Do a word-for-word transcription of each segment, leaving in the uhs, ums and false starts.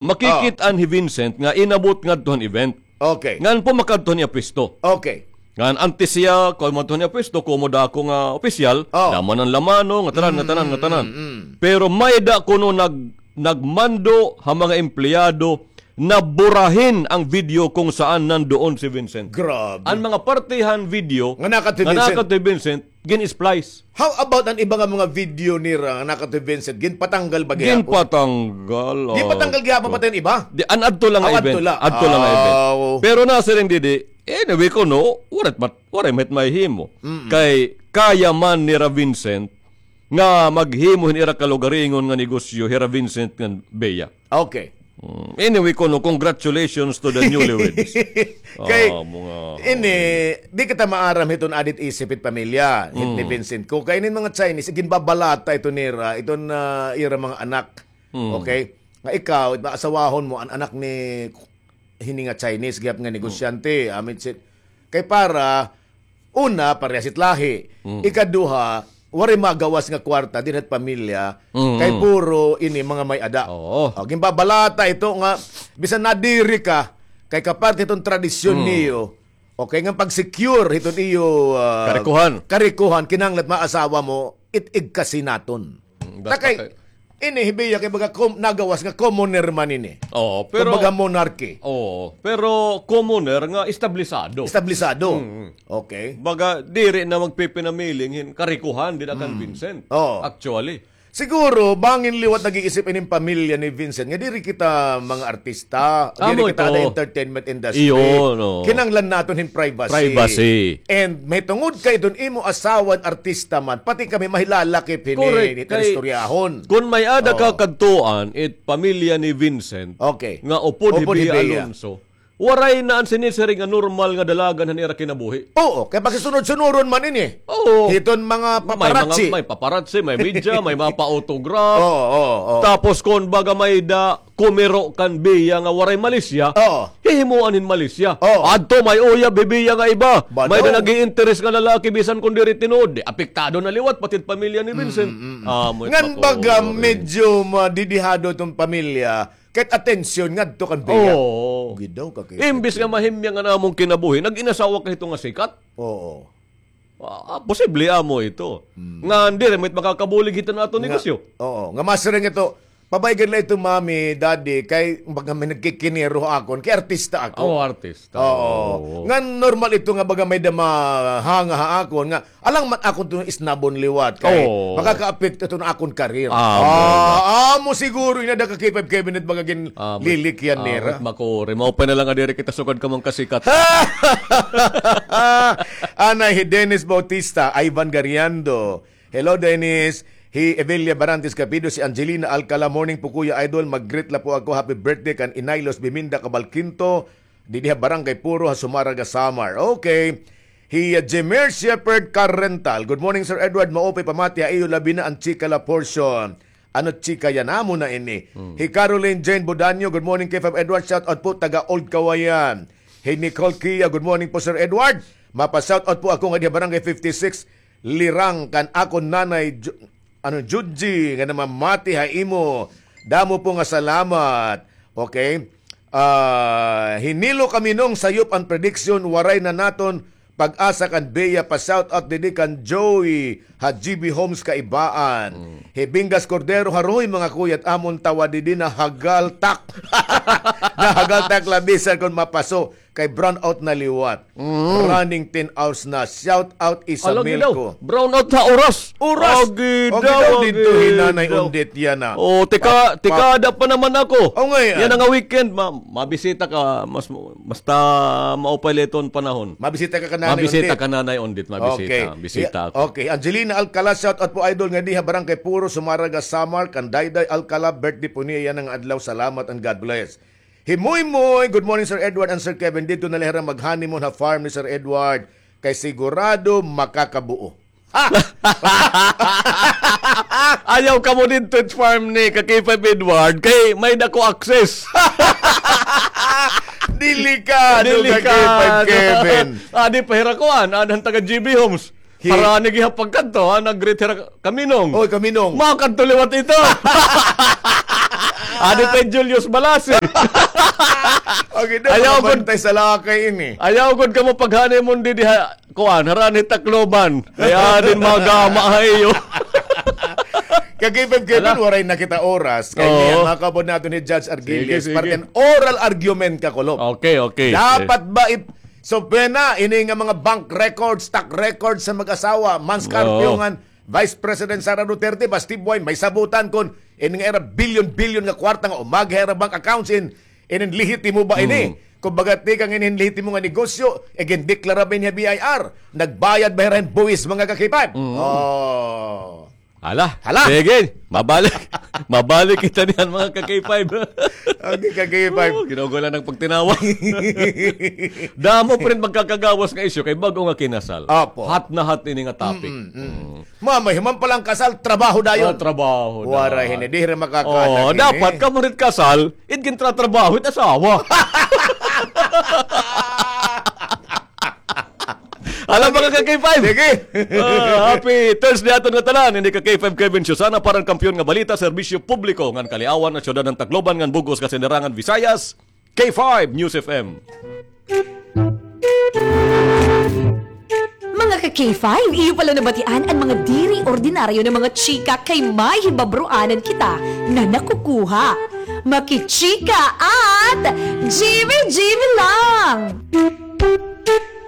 Makikit-an hi Vincent nga inabot ngadto han event. Okay. Ngan po makadto han iya pwesto. Okay. Ngan antes siya, kuan madto han iya pwesto, komo dako nga opisyal, Oh. lamanan-lamano, nga tanan, nga tanan, nga tanan. Mm, mm. Pero may-ada kuno nag-, nagmando ha mga empleyado na burahin ang video kung saan nandoon si Vincent. Grabe. Ang mga parte han video Nga nakadto hi nga Vincent. nakadto hi Vincent, gin-splice. How about an iba nga mga video nira nga nakadto hi Vincent? Ginpatanggal ba gihapon? Ginpatanggal, oh. Ginpatanggal gihapon pati an iba? Di, an adto lang nga event. Adto lang nga event. Aw. Pero nasiring didi, anyway kuno, waray mat-, waray mahit mahihimo. Mm-mm. Kay kaya man nira Vincent nga maghimo hin ira kalugaringon nga negosyo, hira Vincent ngan Bea. Okay. Mm, anyway, kuno, congratulations to the newlyweds. Kay, Ah, mga ini, di kita maaram hiton adit isip hit pamilya, hit ni Mm. Vincent ko. Kay inin mga Chinese, ginbabalata ito nira, iton, ah, ira mga anak. Mm. Okay? Nga ikaw, asawahon mo, an anak ni hini nga Chinese, gihap nga negosyante, amit sit. Kay para, una, parehas it lahi. Mm. Ikaduha, waray magawas nga kwarta dinhi hit pamilya, Mm. kay puro ini mga may-ada. Oo. O, ginbabalata ito nga, bisan nadiri ka, kay kaparte iton tradisyon Mm. niyo, okay, nga pag-secure hiton iyo, ah, Karikohan. karikohan, kinahanglan maasawa mo, it igkasi naton. Mm, Ta basta kay, kay ini hi Bea kay baga kom-, nagawas nga commoner man ini. Oo, pero Kumbaga monarchy. Oo, pero commoner nga establisado. Establisado. Mm. Okay. Baga, diri na magpipinamiling hin karikohan, dida kan Mm. Vincent. Oo. Actually. Siguro, bangin liwat nag-iisip inin pamilya ni Vincent nga diri kita mga artista, Amo diri kita ito. Ada entertainment industry. Iyo, no. Kinahanglan naton hin privacy. Privacy. And mahitungod kay iton imo asawa artista man, pati kami mahilalakip hini, Correct. hini Kay, istoryahon. Kun may-ada Oo. ka kadtuan, it pamilya ni Vincent, Okay. nga upod hi Upod hi Bea Bea. Alonso, waray na an sinisiring nga normal nga dalagan han ira kinabuhi. Oo, kay pakisunod-sunuron man ini. Oo. Hiton mga May mga, paparazzi. may paparazzi, may media, may mapa-autograph. Oo, oo, oo. Tapos kun baga may-ada kumiro kan Bea nga waray malisya, Oo. hihimuan hin malisya. Oo. Adto may uyab hi Bea nga iba. Badaw. May-ada nag-iinteres nga lalaki bisan kun diri tinuod. Di, apektado na liwat pati it pamilya ni Vincent. Mm, mm, mm. Ah, mo Ngan it baga makuri. medyo madidihado iton pamilya, kahit atensyon ngadto kan Bea. Oo. Gidaw ka kay Imbis nga mahimyang an amon kinabuhi, nag-inasawa ka hito nga sikat. Oo. Ah, ah, posible amo ito. Hmm. Nga diri, may makakabulig hito na aton Nga, negosyo. oo. Nga masiring ito, pabay gad la ito, Mami, Daddy, kay baga may nagkikiniro ha akon, kay artista ako. Oo, artista. Oo. Oo. Nga normal ito nga baga may-ada mahanga ha akon, nga alang man akon ito isnabon liwat, kay Oo. makakaapekto ito na akon career. Ah, Ah, amo siguro, inada ka K five Kevin, it baga gin Ah, but, lilikyan ah, nira. but makuri. Maupay na la nga diri kita sugad ka man kasikat. Anay hi Dennis Bautista, Ivan Gariando. Hello, Dennis. Hi Evelia Barantes Capido, si Angelina Alcala. Morning po, Kuya Idol. Mag-greet la po ako. Happy birthday kan Inaylos Biminda Cabalquinto. Didi ha Barangay Puro, ha Zumarraga, Samar. Okay. Hi, uh, Jemer Shepherd Carrental. Good morning, Sir Edward. Maupay pamati ha iyo, labi na an chika la portion. Ano chika yan? Amo na ini. Hmm. Hi Caroline Jane Bodanyo, good morning, K five Edward. Shout out po, taga Old Kawayan. Hi Nicole Kia, good morning po, Sir Edward. Mapa-shout out po ako nga di ha Barangay fifty-six, Lirang, kan akon nanay, Ju-, ano, Juji, nga namamati ha imo. Damo po nga salamat. Okay? Ah, hi Nilo Caminong, sayop an prediction, waray na naton pag-asa kan Bea, pa-shout out didi kan Joey ha G B Homes Kaibaan. Mm. Hi Bingas Cordero, haroy mga kuya, it amon tawa didi nahagaltak. Nahagaltak la bisan kon mapaso kay brown out na liwat. Mm. Running ten hours na. Shout out Ala, Isamilco. Gidaw. Brown out ha oras. Oras. Agi O, daw, gidaw didto agi hi Nanay daw. Undit yana. O, tika, Pa-, pa- tikada pa naman ako. O, ngay-an. Yana nga weekend, ma-, mabisita ka, mas, basta maupay la iton panahon. Mabisita ka kan Nanay Mabisita Undit. ka, Nanay Undit, mabisita. Okay. Bisita Ya-, ako. okay. Angelina Alcala, shout out po, idol, nga di ha Barangay Puro, Zumarraga, Samar, kan Dayday Alcala, birthday po niya yana nga adlaw. Salamat and God bless. Hi Moy Moy, good morning, Sir Edward and Sir Kevin. Didto na la hira mag-honeymoon ha farm ni Sir Edward. Kay sigurado makakabuo. Ayaw kamo didto it farm ni ka K five Edward kay may dako access. Delikado ka, Delikado. K five Kevin. Adi pa hira kuan, adan taga G B Homes. Hi- Para ni gihapag kadto, ha, nag-greet hira Kaminong. Oy, Kaminong. Makadto liwat ito. Adi pa hi Julius Balasig. Okay, daw, ayaw gud, bantay sa lakay ini. Ayaw gud kamo pag-honeymoon didi ha, kuan, harani Tacloban. Kay adin magama ha iyo. Ka-K five Kevin, waray na kita oras. Kay niya, makabod naton ni Judge Argiles. Sige, sige. Parte an oral argument, kakulop. Okay, okay. Dapat ba ip-, so, pwede na, ini nga mga bank records, stock records sa mag-asawa, Mans Carpio ngan Vice President Sara Duterte, basti buhay, may sabutan kon ini nga ira bilyon-bilyon nga kwarta nga umagi ha ira bank accounts in, inin lehitimo ba ini? Kumbaga, tikang inin lehitimo nga negosyo, igindeklara ba ini ha B I R? Nagbayad ba hira hin buwis, mga ka-K five? Oh. Hala. Hala. Sige, mabalik. Mabalik kita niyan, mga ka-K five. Okay, ka-K five. Oh, ginaugoy la an pagtinawa. Damo pa rin magkakagawas nga isyu kay bag-o nga kinasal. Opo. Hot na hot ini nga topic. Mm, mm. Mamahiman pa lang kasal, trabaho dayon. Ah, trabaho dayon. Waray hini, diri makakaanak hini. Dapat kamo rin kasal, it gintratrabaho it asawa. Hala, mga ka-K five. Sige. Ah, happy Thursday aton ngatanan. Ini ka-K five Kevin Susana para han kampiyon nga balita, serbisyo publiko ngan kaliawan ha syudad han Tacloban ngan bug-os nga sinirangan Visayas. K five News F M. Mga ka-K five, iyo pala nabatian an mga diri ordinaryo nga mga chika kay may hibabroanan kita nga nakukuha. Makichika at G B G B lang!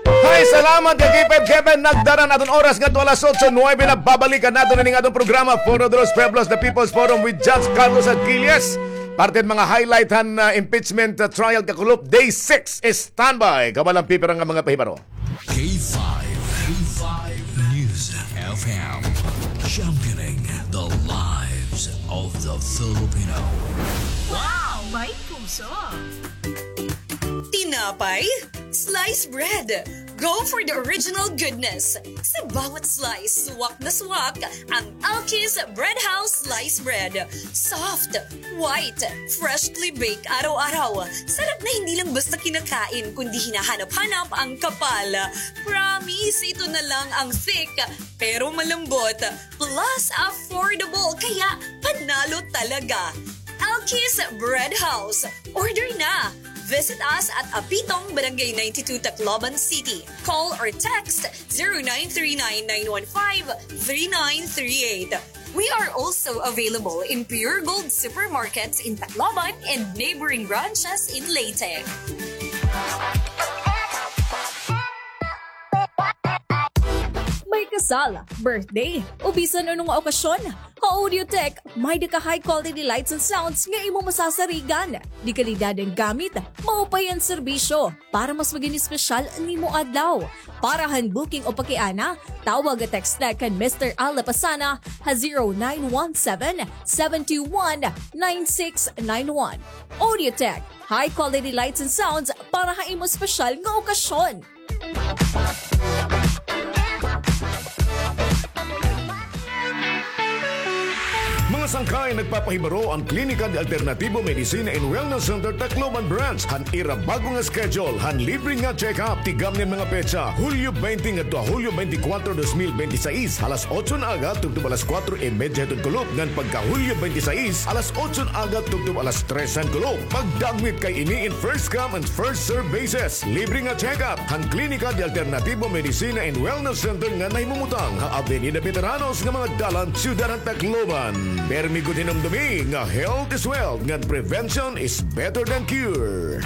Hay, salamat ka-K five Kevin. Nagdara an aton oras ngadto alas otso nuwebe na. Babalikan naton ini nga aton programa, Foro de los Pueblos, The People's Forum with Judge Carlos Aquiles. Parte han mga highlight han, ah, impeachment, ah, trial, kakulop, day six. Standby, kabalo an pipira nga mga pahibaro. K five, K five News F M, championing the lives of the Filipino. Wow! May puso! Tinapay? Slice bread! Go for the original goodness! Sa bawat slice, suwak na suwak ang Alki's Bread House Slice Bread. Soft, white, freshly baked araw-araw. Sarap na hindi lang basta kinakain, kundi hinahanap-hanap ang kapal. Promise, ito na lang ang thick, pero malambot. Plus, affordable, kaya panalo talaga. Alki's Bread House. Order na! Visit us at Apitong, Barangay ninety-two, Tacloban City. Call or text zero nine three nine, nine one five, three nine three eight. We are also available in Pure Gold supermarkets in Tacloban and neighboring branches in Leyte. May kasal, birthday, o bisan ano nga okasyon, ha Audiotech, may-ada ka high quality lights and sounds nga imo masasarigan. Dekalidad an gamit, maupay an serbisyo. Para mas magin espesyal an imo adlaw. Para han booking o pakiana, tawag o text la kan Mister Al Lapasana ha zero nine one seven, seven two one, nine six nine one. Audiotech, high quality lights and sounds para ha imo espesyal nga okasyon. Mga sangkay, nagpapahibaro an Klinika de Alternativo Medicina and Wellness Center Tacloban Branch han ira bag-o nga schedule han libre nga check-up. Tigam niyan mga petsa, Hulyo baynte ngadto ha Hulyo baynte kwatro, dos mil baynte sais, alas otso han aga tubtob alas kwatro y medya hiton kulop, ngan pagka Hulyo baynte sais, alas otso han aga tubtob alas tres han kulop. Pagdagmit kay ini in first come and first serve basis. Libre nga check-up han Klinika de Alternativo Medicina and Wellness Center nga nahimumutang ha Avenida Veteranos nga mga dalan, Syudad han Tacloban. Permi gud hinumdomi nga health is wealth, ngan prevention is better than cure.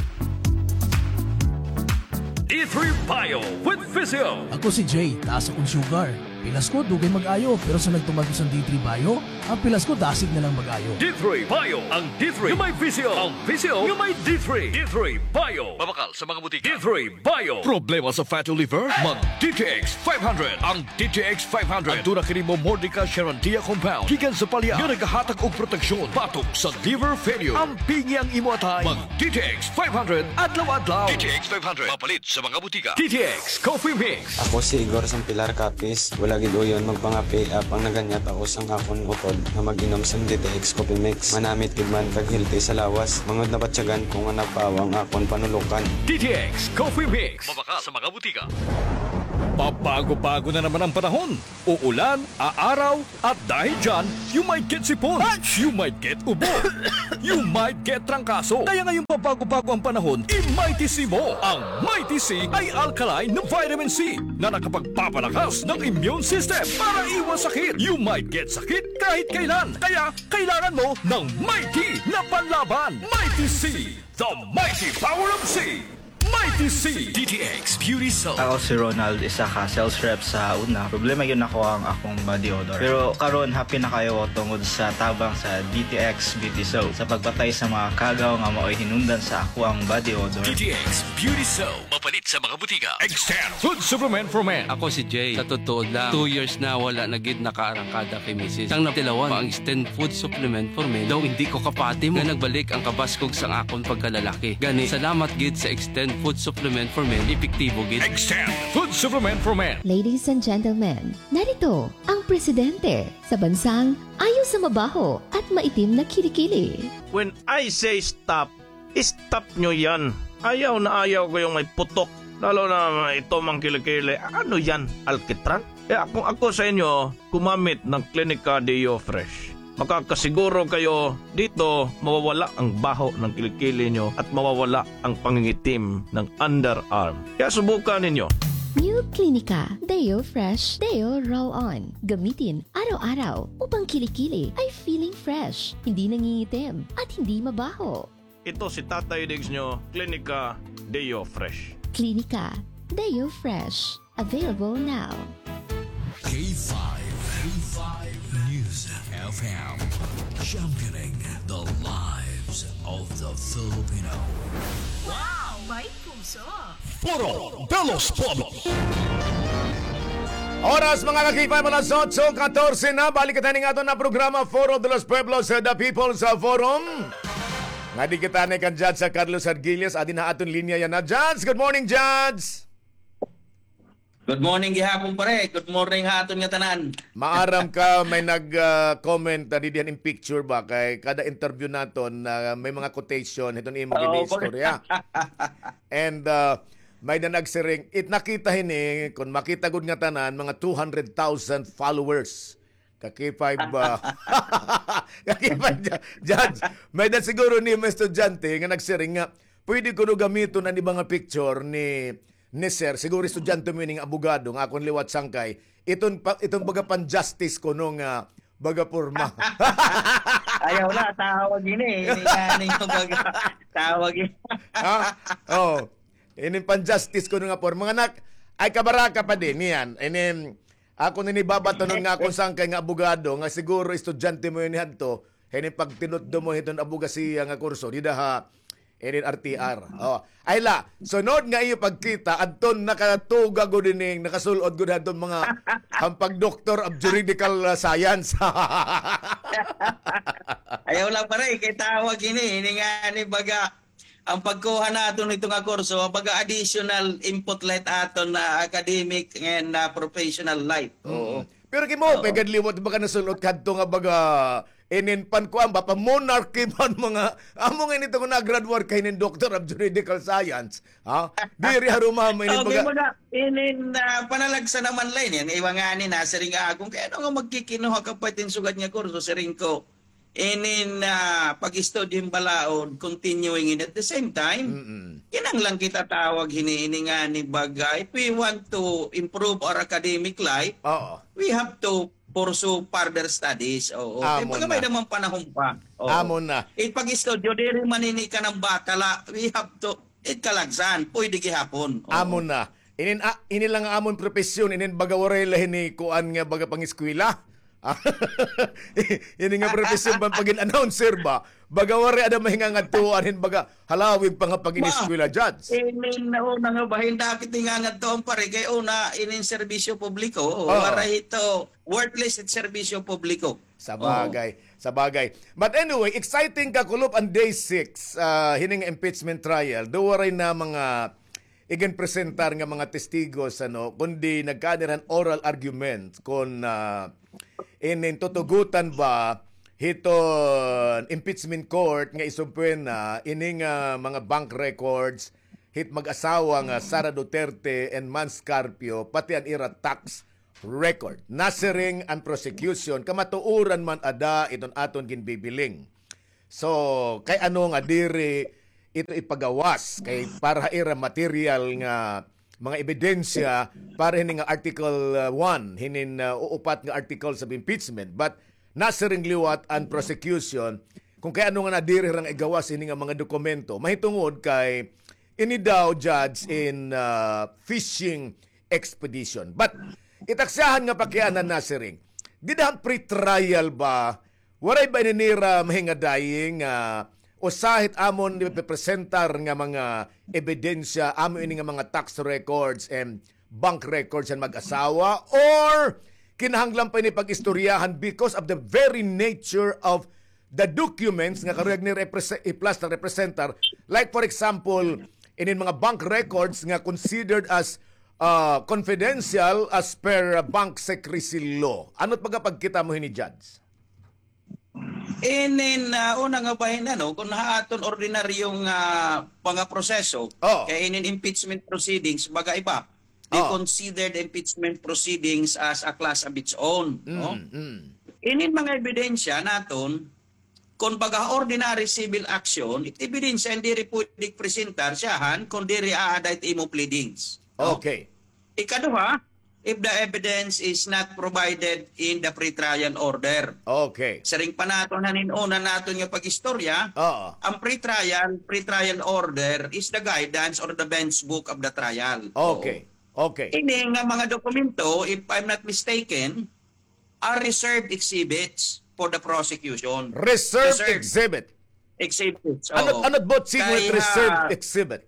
D three Bio with Physio. Ako si Jay, taas akon sugar. Pilas ko, dugay mag-ayo, pero sa nagtuman ko sa D three Bio, ang pilas ko dasig na lang mag-ayo. D three Bio, ang D three nga may Physio, ang Physio nga may D three. D three Bio. Mabakal sa mga butika. D three Bio. Problema sa fatty liver? Mag D T X five hundred. Ang D T X five hundred. Aduna kini Momordica Charantia compound gikan sa palya nga nagahatag og proteksyon batok sa liver failure. Ampingi ang imo atay. Mag D T X five hundred adlaw-adlaw. D T X five hundred. Mapalit sa mga butika. D T X Coffee Mix. Ako si Igor Sampilar Capiz. Wala gid uyon magpangape apang naganyat ako sang akon utod nga mag-inom sang D T X Coffee Mix. Manamit gid man kag healthy sa lawas. Mangud nabatyagan ko nga napawa ang akon panulokan. D T X Coffee Mix. Mabakal sa mga butika. Pabago-bago na naman ang panahon. Uulan, aaraw, at dahil dyan, you might get sipon, you might get ubo, you might get trangkaso. Kaya ngayong pabago-bago ang panahon, i-Mighty C mo. Ang Mighty C ay alkaline na vitamin C na nakapagpapalakas ng immune system para iwas sakit. You might get sakit kahit kailan. Kaya kailangan mo ng Mighty na panlaban. Mighty C, the mighty power of C. Mighty C. D T X Beauty Soap. Ako si Ronald, isa ka sales rep sa una. Problema gyud nako ang akong body odor. Pero karon, happy na kaayo tungod sa tabang sa D T X Beauty Soap. Sa pagpatay sa mga kagaw nga maoy hinungdan sa akoang body odor. D T X Beauty Soap. Mapalit sa mga butika. Extend Food Supplement for Men. Ako si Jay. Sa totoo lang, two years na wala na gid nakaarangkada kay misis. Sang natilawan, ang Extend Food Supplement for Men, daw hindi ko kapati mo. Nga nagbalik ang kabaskog sang akon pagkalalaki. Gani, salamat gid sa Extend Food Supplement for Men, epektibo gid. Extend Food Supplement for Men. Ladies and gentlemen, narito ang presidente sa bansang ayaw sa mabaho at maitim na kilikili. When I say stop, stop nyo yan. Ayaw na ayaw ko yung may putok. Lalo na ito mang kilikili. Ano yan? Alkitran? Kaya kung ako sa inyo, gumamit ng Clinica Deo Fresh. Makakasiguro kayo dito mawawala ang baho ng kilikili nyo at mawawala ang pangingitim ng underarm. Kaya subukan ninyo. New Clinica Deo Fresh Deo Roll On. Gamitin araw-araw upang kilikili ay feeling fresh, hindi nangingitim, at hindi mabaho. Ito si Tatay Diggs nyo, Klinika Deo Fresh. Klinika Deo Fresh. Available now. K five, K five News F M, championing the lives of the Filipino. Wow! May puso! Foro de los Pueblos. Oras, mga ka-K five, alas otso katorse na. Balik kita ning aton na programa, Foro de los Pueblos, uh, The People's, uh, Forum. Nga di kita ni kan Judge sa Carlos Argilias. Adi na aton linya yana. Judge, good morning, Judge. Good morning gihapon, pare. Good morning ha aton nga tanan. Maaram ka, may nag, ah, comment, ah, didi han im picture ba? Kay kada interview naton, ah, may mga quotation hiton imo ginaistorya. And, ah, may na nagsiring, it nakita hini, kon makita gud nga tanan, mga two hundred thousand followers. Ka K five, ah, ka K five, Ju-, Judge. May na siguro ni mga estudyante nga nagsiring nga, pwede kuno gamiton an iba nga picture ni ni Sir, siguro estudyante mo ini nga abogado nga akon liwat sangkay, iton pa, iton baga pan-justice kuno nga baga porma. Ayaw na, tawag ini, ini nga, ini nga baga, tawag ini. Ha? Oh. Ini pan-justice kuno nga porma. Mga nak-, ay kabaraka pa din, niyan. Ini, ako nini babatonon nga akon sangkay nga abogado, nga siguro estudyante mo ini hadto, hini pagtinutdo mo hiton abogasiya nga kurso, dida ha, Inin R T R. Oh. Ay la, sunod nga iyo pagkita, adton nakatuga gud ining, nakasul-ot gud adton mga hampag Doctor of Juridical, uh, Science. Ayaw lang, pare, kay tawag ini, ini nga ni baga, ang pagkuha naton hito nga kurso, baga additional input la it aton na academic and, uh, professional life. Oo. Mm. Pero kay mo, oo, pay gad liwat, baga nasul-ot kadto nga baga, inin pan kuan ba, pa monarchy ba an mga, amo nga ini tungod nag-graduate ka hinin Doctor of Juridical Science, ha? Diri ha Roma, inin okay, baga. Baga, inin, ah, panalagsa naman la ini, an iba ngani nasiring akon, kay ano nga magkikinuha ka pa hiton sugad nga kurso, siring ko, inin, ah, pag-istudyo hin balaod, continuing, in at the same time, mm-mm, kinahanglan kita tawag hini, ini ngani baga, if we want to improve our academic life, oo, we have to pursue further studies. Oo. Amo na. Kay baga may-ada man panahon pa. Oo. Amo na. It pag-istudyo, diri man ini kanan bata la. We have to, it kalagsan, pwede gihapon. Oo. Amo na. Inin, ah, ini la nga amon propesyon, inin baga waray la hini kuan nga baga pang-eskwela. Ini nga propesyon ban pagin announcer ba? Baga waray ada mahingangadtuan hin baga halawig pa nga pag-ineskwela, Judge. Inin una nga bahin, dakit hingangadtuan, pare, kay una, inin serbisyo publiko, oo, waray ito, worthless it serbisyo publiko. Sabagay, sabagay. But anyway, exciting kakulop an day six, ah, hini nga impeachment trial. Do waray na mga iginpresentar nga mga testigos, ano, kundi nagkaani han oral argument kon, ah, inin tutugotan ba hiton impeachment court nga isumpwena ini nga mga bank records hit mag-asawa nga Sara Duterte and Mans Carpio, pati an ira tax record. Nasiring an prosecution, kamatuoran man ada iton aton ginbibiling. So, kay ano nga diri ito ipagawas kay para ha ira material nga mga ebidensya para hini nga Article, uh, one, hinin, uh, uupat nga articles of impeachment. But nasiring liwat an prosecution kung kay ano nga nadiri hira nga igawas hini nga mga dokumento. Mahitungod kay ini daw, Judge, in, uh, fishing expedition. But itaksyahan nga pakiana, nasiring, dida han pretrial ba, waray ba ini nira mahingadayi nga usa hit amon ipepresentar nga mga ebidensya, amo ini nga mga tax records and bank records han mag-asawa, or kinahanglan pa ini pag-istoryahan because of the very nature of the documents nga karuyag nira iprese-, i-plus na representar? Like, for example, inin mga bank records nga considered as, uh, confidential as per, uh, bank secrecy law. Ano it pagkapagkita mo hini, Judge? Inin, ah, una nga bahin, ano, kun ha aton ordinaryong, ah, mga proseso, Oh. kay inin impeachment proceedings, baga iba. They Oh. considered impeachment proceedings as a class of its own, no? Mm, mm. Inin mga ebidensya naton, kun baga ordinary civil action, it ebidensya, diri pwede presentar siyahan kun diri aada it imo pleadings, no? Okay. Ikaduha, if the evidence is not provided in the pretrial order. Okay. Siring pa naton han hin-una naton nga pag-istorya, Oo. ang pretrial, pretrial order is the guidance or the bench book of the trial. Okay. Oo. Okay. Ini nga mga dokumento, if I'm not mistaken, are reserved exhibits for the prosecution. Reserved Reserved exhibit. exhibits, Ano, oo. ano it buot sidngon Kay, reserved ah, exhibit?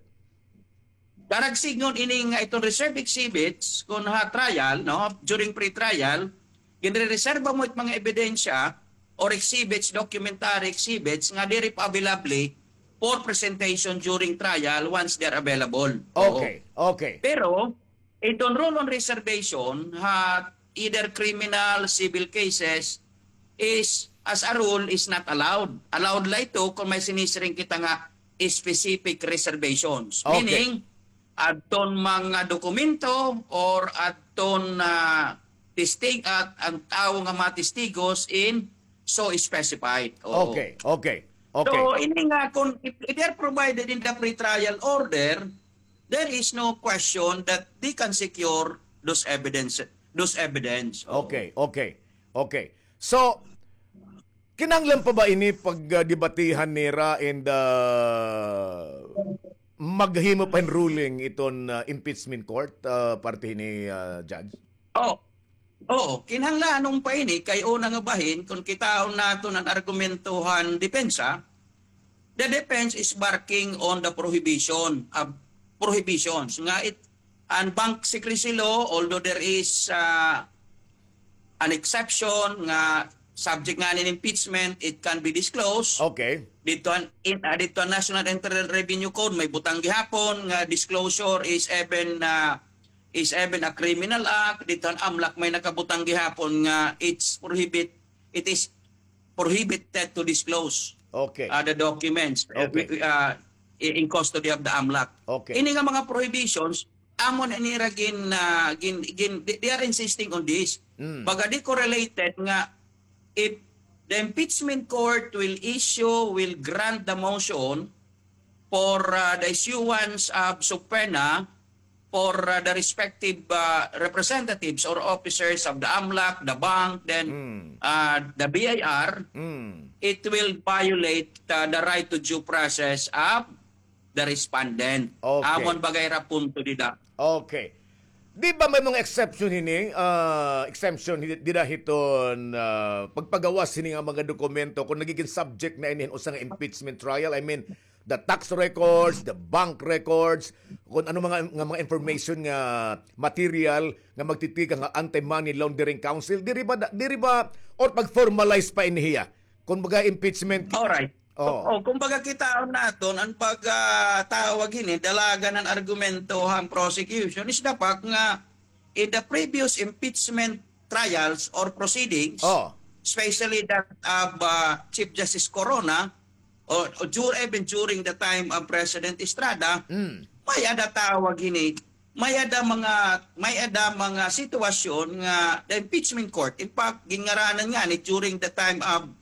Karuyag sidngon ini nga iton reserved exhibits, kun ha trial, no, during pre-trial, ginrereserba mo it mga ebidensya or exhibits, documentary exhibits nga diri pa available for presentation during trial once they are available. Oo. Okay, okay. Pero, iton rule on reservation ha either criminal, civil cases is, as a rule, is not allowed. Allowed la ito kun may sinisiring kita nga specific reservations. Okay. Meaning, adton mga dokumento or adton, ah, testig-, at ang tawo nga mga testigos in so specified. Oo. Okay, okay, okay. So, ini nga kun if, if they are provided in the pretrial order, there is no question that they can secure those evidence, those evidence. Oo. Okay, okay, okay. So, kinahanglan pa ba ini pagdebatihan nira and, ah, maghimo pa hin ruling iton, ah, impeachment court, ah, parte hini, ah, Judge? Oh. Oo, kinahanglan pa ini kay una nga bahin, kun kitaon naton an argumento han depensa, the defense is barking on the prohibition of prohibitions nga it, an bank secrecy law, although there is, ah, an exception nga subject nga an impeachment, it can be disclosed. Okay. Didto an, in, ah, didto an National Internal Revenue Code, may butang gihapon nga disclosure is even, ah, is even a criminal act. Didto an AMLAC may nakabutang gihapon nga it's prohibit, it is prohibited to disclose, Okay. ah, the documents, eh, Okay. wi-, ah, i-, in custody of the AMLAC. Okay. Ini nga mga prohibitions, amon ini ira gin, ah, gin, gin, they, they are insisting on this. Mm. Baga di correlated nga if the impeachment court will issue, will grant the motion for, ah, the issuance of subpoena for, ah, the respective, ah, representatives or officers of the AMLAC, the bank, then, Mm. ah, the B I R, Mm. it will violate, ah, the right to due process of the respondent. Okay. Amon baga ira punto dida. Okay. Di ba may mga exception hini, ah, exemption hi-, dida hiton, ah, pagpagawas hini nga mga dokumento kung nagigin subject na ini hin usa nga impeachment trial? I mean, the tax records, the bank records, kung ano mga, nga mga information nga material nga magtitigang ha Anti-Money Laundering Council, diri ba da-, diri ba, or pag-formalize pa ini hiya? Kung baga impeachment. Alright. Oh. Oh, kumbaga kitaon naton, an pag, ah, tawag hini, dalagan an argumento han prosecution is the fact nga in the previous impeachment trials or proceedings, Oh. especially that of, ah, Chief Justice Corona, or, or dur-, even during the time of President Estrada, Mm. May-ada tawag hini, may-ada mga, may-ada mga sitwasyon nga the impeachment court. In fact, ginngaranan ngani during the time of,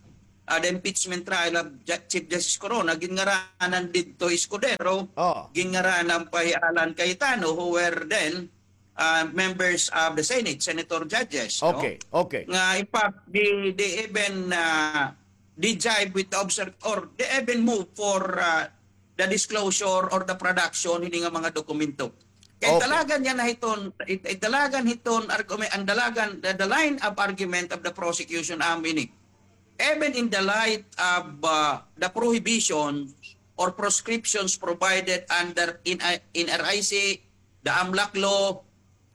ah, the impeachment trial of Ju-, Chief Justice Corona, ginngaranan didto Escudero, Oh. ginngaranan pa hi Alan Cayetano, who were then, ah, members of the Senate, senator judges, no? Okay, okay. Nga, in fact, they, they even, ah, they jibe with the observ-, or they even move for, ah, the disclosure or the production hini nga mga dokumento. Kay Okay. dalagan niya na hiton, it, it dalagan hiton argument, an dalagan, the, the line of argument of the prosecution amo ini. Even in the light of, uh, the prohibitions or proscriptions provided under in, in R I C, the AMLAC law,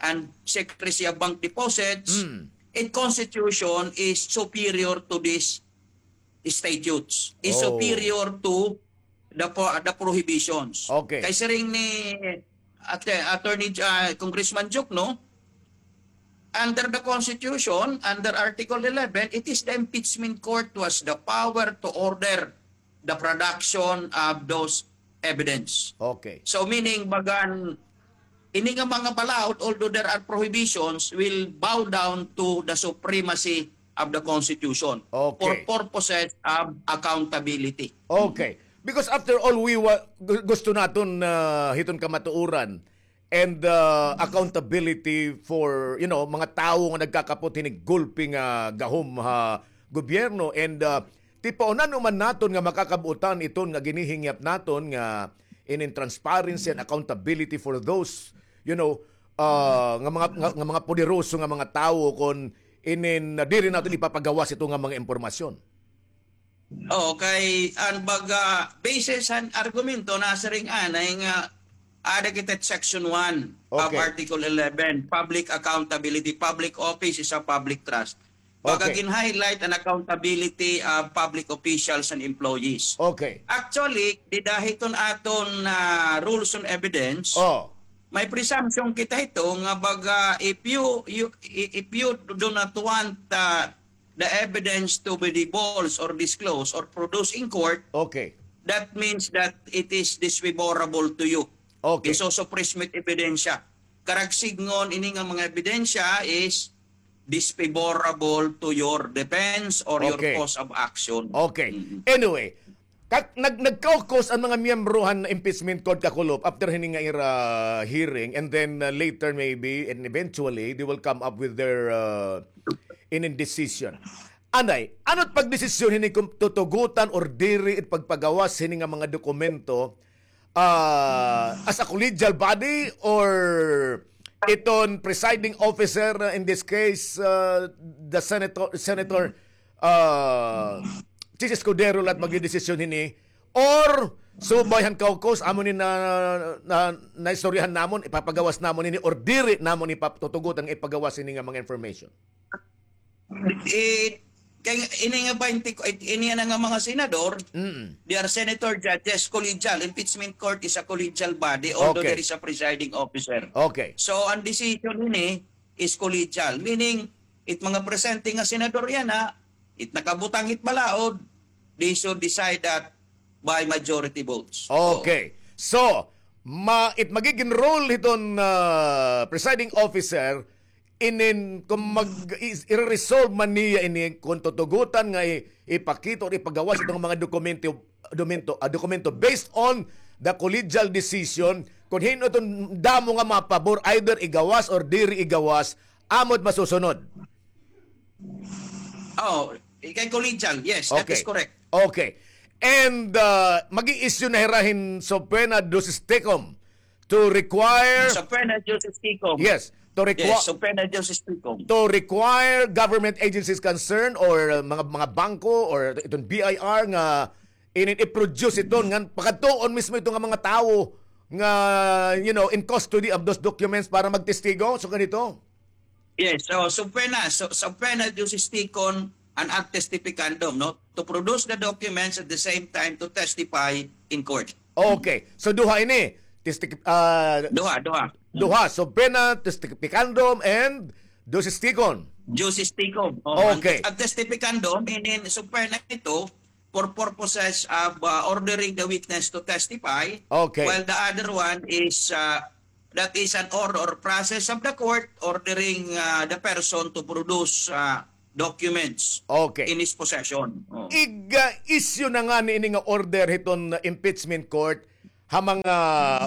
and secrecy of bank deposits, Mm. in constitution is superior to these statutes, is Oh. superior to the po-, the prohibitions. Okay. Kay siring ni At-, Attorney, ah, Congressman Duke, no? Under the Constitution, under Article eleven, it is the impeachment court who has the power to order the production of those evidence. Okay. So, meaning, bagan, ini nga mga balaod, although there are prohibitions, will bow down to the supremacy of the Constitution for Okay. purposes of accountability. Okay. Because after all, we wa-, gu-, gusto naton, ah, hiton kamatuoran and, ah, accountability for, you know, mga tawo nga nagkakapot hinig gulpi nga gahom ha gobyerno. And, ah, tipaonan man naton nga makakabuotan iton nga ginihingyap naton nga inin transparency and accountability for those, you know, ah, nga mga, nga, nga mga poderoso nga mga tawo kon inin, ah, diri naton ipapagawas ito nga mga impormasyon. Oo, kay an baga basis han argumento nasiring anay nga ada kita section one of Okay. Article eleven, public accountability, public office is a public trust. Baga Okay. gin-highlight an accountability of public officials and employees. Okay. Actually, dida hiton aton, ah, rules on evidence, Oh. may presumption kita hito nga baga if you, you, i-, if you do not want, ah, the evidence to be divulged or disclosed or produced in court, Okay. that means that it is disfavorable to you. Okay. Isusuppress mo it ebidensya. Karuyag sidngon, ini nga mga ebidensya is disfavorable to your defense or your Okay. cause of action. Okay. Mm-mm. Anyway, Kak-, nag-, nag-caucus an mga miyembro han impeachment court kakulop after hini nga ira hearing, and then, uh, later maybe and eventually they will come up with their, uh, inin decision. Anay, ano it pagdesisyon hini kon tutugotan or diri it pagpagawas hini nga mga dokumento, uh, as a collegial body or iton presiding officer, uh, in this case, uh, the senator, senator, uh, Chiz Escudero la it magdedesisyon hini, or subay han caucus, amo ni na, na, naistoryahan namon, ipapagawas namon ini, or diri namon ipatutugot nga ipagawas ini nga mga information? Eh, kay ini nga twenty, ini na nga mga senador, Mm. they are senator judges, collegial. Impeachment court is a collegial body, although Okay. there is a presiding officer. Okay. So, an decision ini, is collegial. Meaning, it mga presente nga senador yana, it nakabutang it balaod, they should decide that by majority votes. Okay. So, ma-, it magigin role hiton, ah, presiding officer, inin, kon mag-, is-, ire-resolve man niya ini, kon tutugotan nga i-, ipakita or ipagawas iton mga dokumento, domento-, ah, dokumento based on the collegial decision, kon hin-o iton damo nga mapabor, either igawas or diri igawas, amo it masusunod. Oh, kay collegial, yes, that Okay. is correct. Okay. And, uh, mag-i-issue na hira hin subpoena juris tecum to require Subpoena juris tecum. Yes, to requa- Yes, subpoena juris tecum. To require government agencies concerned or, uh, mga, mga bangko or iton B I R nga inin i-produce iton ngan pakadtuon mismo ito nga mga tawo nga, you know, in custody of those documents para magtestigo. So, ganito. Yes, so subpoena, so, subpoena juris tecum and ad testificandum, no? To produce the documents at the same time to testify in court. Okay. So, duha ini. Testi-, ah, Duha, duha. Duha. Subpoena, testificandum, and juris tecum. Juris tecum. Oh, Okay. An, an testificandum, inin subpoena ito, for purposes of, uh, ordering the witness to testify, okay, while the other one is, uh, that is an order or process of the court ordering, uh, the person to produce, uh, documents, okay, in his possession. Oh. Ig, uh, issue na ngani ini nga order hiton impeachment court ha mga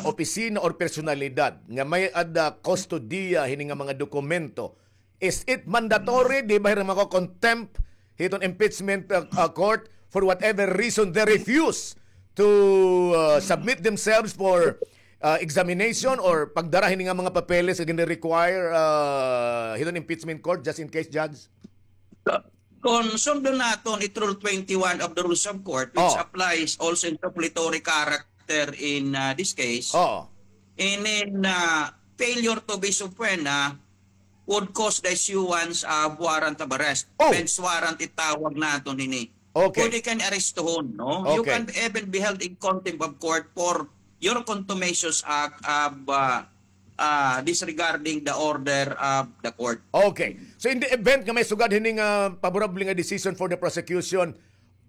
opisina or personalidad nga may-ada kustodiya hini nga mga dokumento. Is it mandatory? Di ba hira mako-contempt hiton impeachment, uh, uh, court for whatever reason they refuse to, uh, submit themselves for, uh, examination or pagdara hini nga mga papeles nga gini-require, uh, hiton impeachment court, just in case, Judge? Kon sundon naton it Rule twenty-one of the Rules of Court, which, oh, applies also in suppletory character in, uh, this case, oh, inin, uh, failure to be subpoena would cause the issuance of warrant of arrest. Oh. Bench warrant itawag naton ini. Okay. Pwede ka niya arestuhon, no? You, okay, can even be held in contempt of court for your contumacious act of, uh, uh, disregarding the order of the court. Okay. So in the event nga may sugad hini nga, ah, favorable nga decision for the prosecution,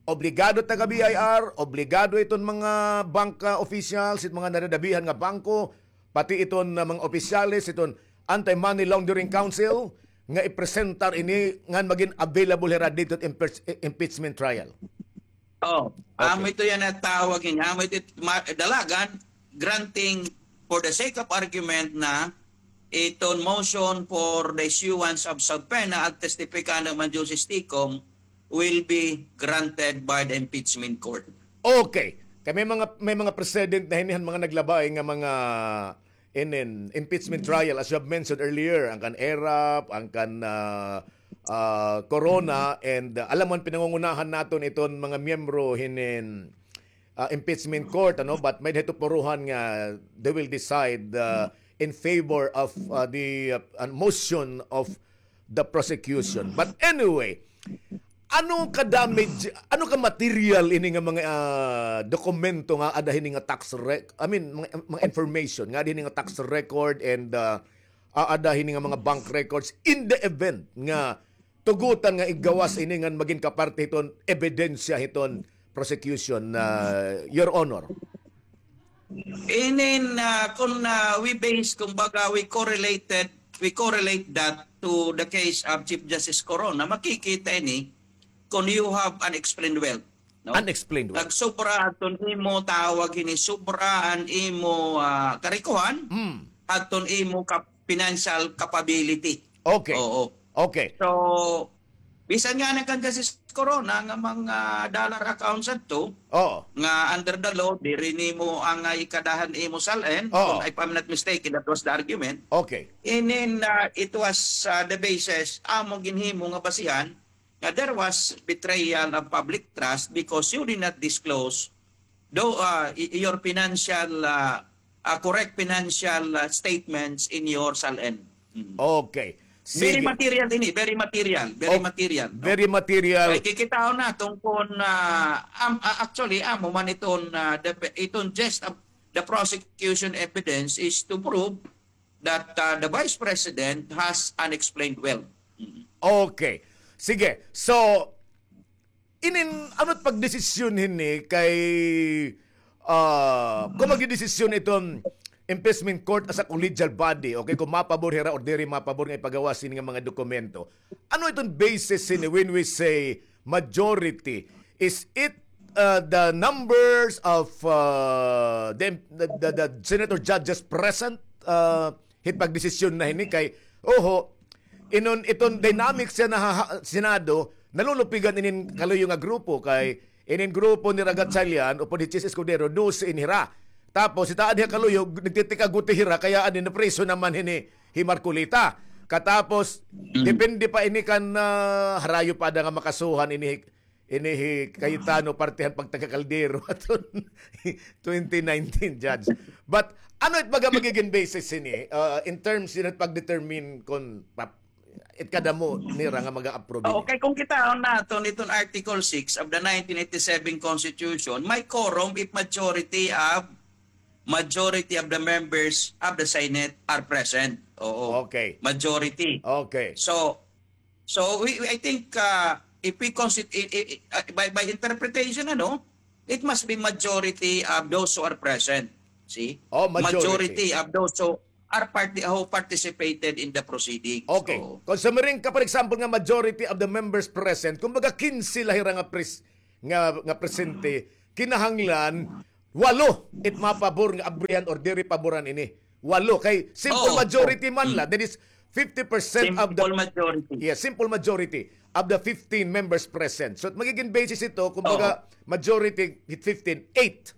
obligado taga B I R, obligado iton mga bank, ah, officials, it mga nadadabihan nga bangko, pati iton, ah, mga opisyales, iton Anti-Money Laundering Council, nga ipresentar ini ngan magin available hira didto impeach-, impeachment trial. Oh, okay. Amo ito yana tawag niya. Amo ito ma-, dalagan, granting for the sake of argument na iton motion for the issuance of subpoena at testificahan man Justice Ticom will be granted by the impeachment court. Okay. Kay may mga, may mga precedent na hini han mga naglabay nga mga inin impeachment trial, as you have mentioned earlier, an kan Erap, an kan, ah, ah, Corona, and, ah, alam mo, an pinangungunahan naton iton mga miyembro hinin, ah, impeachment court, ano, but may-ada hito puruhan nga they will decide, ah, in favor of, ah, the, ah, motion of the prosecution. But anyway, ano ka damage, ano ka material ini nga mga, ah, dokumento nga aada hini nga tax rec-, I mean, mga, mga information nga aada hini nga tax record and, ah, aada hini nga mga bank records in the event nga tugotan nga igawas ini ngan magin kaparte hiton ebidensya hiton prosecution, ah, Your Honor? Inin, ah, kun, ah, we base, kumbaga, we correlated, we correlate that to the case of Chief Justice Corona, makikita ini kun you have unexplained wealth, no? Unexplained wealth. Nagsobra adton imo, tawag hini, sobra an imo, ah, karikohan, hmm, adton imo kap-, financial capability. Okay. Oo. Okay. So, bisan ngani kan Justice Corona nga mga dollar accounts adto, oo, nga under the law, diri nimo angay kadahan imo SALN, oo, kung, if I'm not mistaken, that was the argument. Okay. Inin, ah, it was, ah, the basis, amo ginhimo nga basihan, nga there was betrayal of public trust because you did not disclose though, ah, y-, your financial, ah, ah, correct financial, ah, statements in your SALN. Mm. Okay. Very, sige, material ini, very material, very, oh, material, no? Very material. Kay kikitaon naton kun, ah, am-, ah, actually, amo man iton, ah, the, iton gist of the prosecution evidence is to prove that, ah, the Vice President has unexplained wealth. Mm. Okay. Sige. So, inin, ano it pagdesisyon hini kay, ah, kon magdedesisyon iton impeachment court as a collegial body, okay, kon mapabor hira or diri mapabor nga ipagawas hini nga mga dokumento. Ano iton basis hini when we say majority? Is it, ah, the numbers of, ah, the, the, the, the senator judges present, ah, hit pagdesisyon na hini kay, oho, inon, iton dynamics yana ha, ha Senado, nalulupigan inin kaluyo nga grupo kay inin grupo ni Gatchalian upod hi Chiz Escudero, dose ini hira. Tapos, ita adi ha kaluyo, nagtitik-a Gutierrez hira, kaya adi napriso naman hini hi Marcoleta. Katapos, mm, depende pa ini kan, ah, harayo pa ada nga makasuhan ini hi ini hi Cayetano, parte han pagtaga-Caldero aton twenty nineteen, Judge. But ano it baga magigin basis hini, uh, in terms hini pag-determine kon pa-, it kadamo nira nga maga-approve hini? Okay, kon kitaon naton iton Article six of the nineteen eighty-seven Constitution, may quorum if majority of, majority of the members of the Senate are present. Oo. Okay. Majority. Okay. So, So, we, we, I think, uh, if we consider, i- i- i- uh, by, by interpretation, ano, it must be majority of those who are present. See? Oh, majority. Majority of those who are parti- who participated in the proceedings. Okay. So, kung sumiring ka, for example, nga majority of the members present, kumbaga, kinse la hira nga pres-, nga, nga presente, kinahanglan, walo it mapabor nga abrihan or diri paboran ini. Walo. Kay simple majority man la. That is fifty percent of the, simple majority. Yeah, simple majority of the fifteen members present. So, magiging basis ito, kumbaga, majority hit fifteen, eight.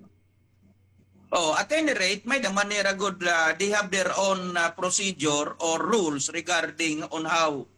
Oh, at any rate, may-ada man nira gud, ah, they have their own, ah, procedure or rules regarding on how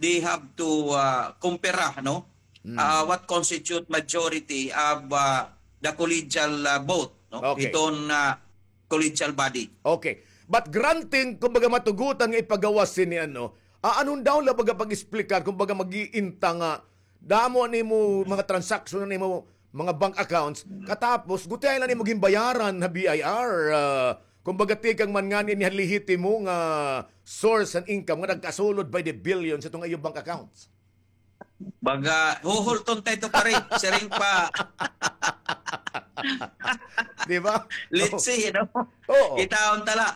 they have to, ah, kumpara, no? Ah, what constitute majority of, ah, the collegial, ah, vote, no? Okay. Hiton, ah, collegial body. Okay. But granting, kumbaga, matugutan nga ipagawas ini, ano, ah, ano daw la baga pag-explicar, kumbaga, mag-iinta nga damo nimo mga transaction nimo, mga bank accounts, katapos gutiay la nimo ginbayaran ha B I R, ah, kumbaga, tikang man ngani ini ha lehitimo nga source and income nga nagkasulod by the billions itong iyo bank accounts. Baga, huhulton ta ito, pare. Siring pa. Di ba? Let's see, you know? Oo. Kitaon ta la.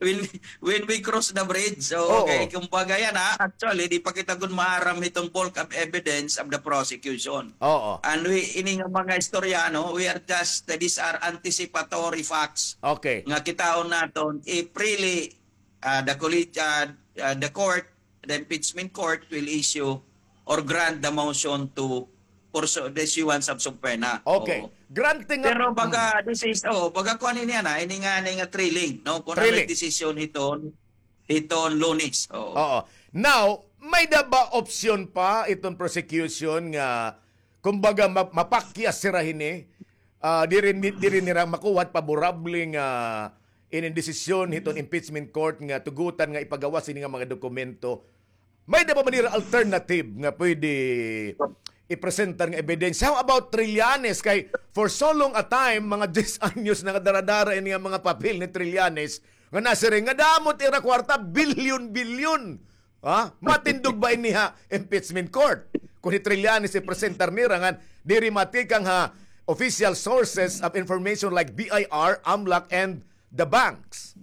When, when we cross the bridge, so, okay, kumbaga yan, ha? Actually, di pa kita gud maaram itong bulk of evidence of the prosecution. Oo. And we, ini nga mga istorya, no, we are just, these are anticipatory facts. Okay. Nga kitaon naton, if really, ah, the colleg-, ah, ah, the court, the impeachment court will issue or grant the motion to pursue the issuance of subpoena. Okay. Oo. Granting nga, pero baga, this is, oh, baga kuan ini, ana, ini nga, ini nga thrilling, no? Kung ano yung decision hiton, hiton Lunes. Oo. Oo. Now, may-ada ba option pa iton prosecution nga, kumbaga, ma-, mapakyas sira hini, ah, diri, diri nira makuha paborable nga inin desisyon hiton impeachment court nga tugutan nga ipagawas ini nga mga dokumento. May-ada ba man nira alternative nga pwede ipresentar nga ebidensya? How about Trillanes? Kay for so long a time, mga diyes anyos na nga dara-dara ini nga mga papel ni Trillanes nga nasiring nga damo it ira kwarta, bilyon-bilyon. Ha? Matindog ba ini ha impeachment court? Kung hi Trillanes ipresentar nira ngan diri matikang ha official sources of information like B I R, AMLAC, and the banks.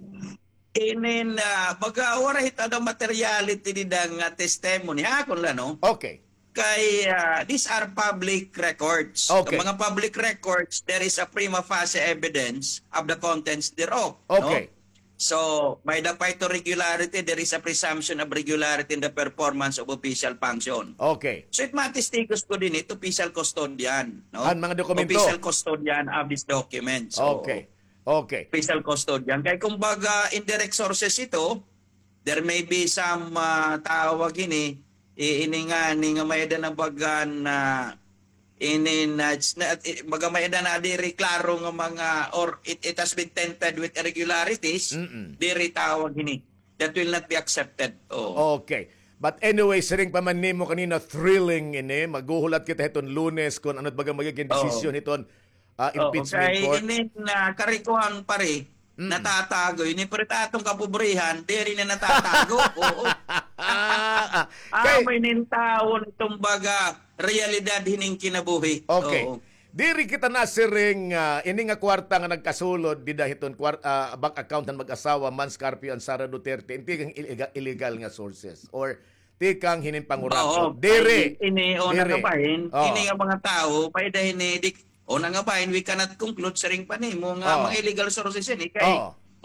Inin, ah, baga, waray hit ano materiality dida nga testimony. Ha, akon la, no? Okay. Kay, ah, these are public records. Okay. Mga public records, there is a prima facie evidence of the contents thereof, no? Okay. So, may-ada pa ito regularity, there is a presumption of regularity in the performance of official function. Okay. So, it matestigos ko din ito, official custodian, no? An mga dokumento. Official custodian of these documents. So, okay. Okay. Official custodian. Kay kumbaga, indirect sources ito, there may be some, ah, tawag ini, i-, ini nga, ini nga may-ada na baga na, ini na, it's not, i-, baga may-ada na diri klaro nga mga, or it, it has been tainted with irregularities, diri tawag ini. That will not be accepted. Oh. Okay. But anyway, siring pa man nimo kanina, thrilling ini. Maghuhulat kita hiton Lunes kung ano baga magiging desisyon hiton, ah, impeachment court. Kay ini na karikuhan, pare, natatago. Ini, pare, ta aton kapobrihan, diri na natatago. Oo. Kay amo ini an tawo, iton baga realidad hining kinabuhi. Okay. Oo. Diri kita nasiring, ah, ini nga kwarta nga nagkasulod dida hiton kwar-, ah, bank account han mag-asawa Mans Carpio and Sara Duterte, in tikang illegal, illegal nga sources or tikang hinin pangurato. Oo, diri. Ini, una nga bahin, ini nga mga tawo, may-ada hini, di, una nga bahin, we cannot conclude, siring pa nimo, nga mga illegal sources ini. Kay,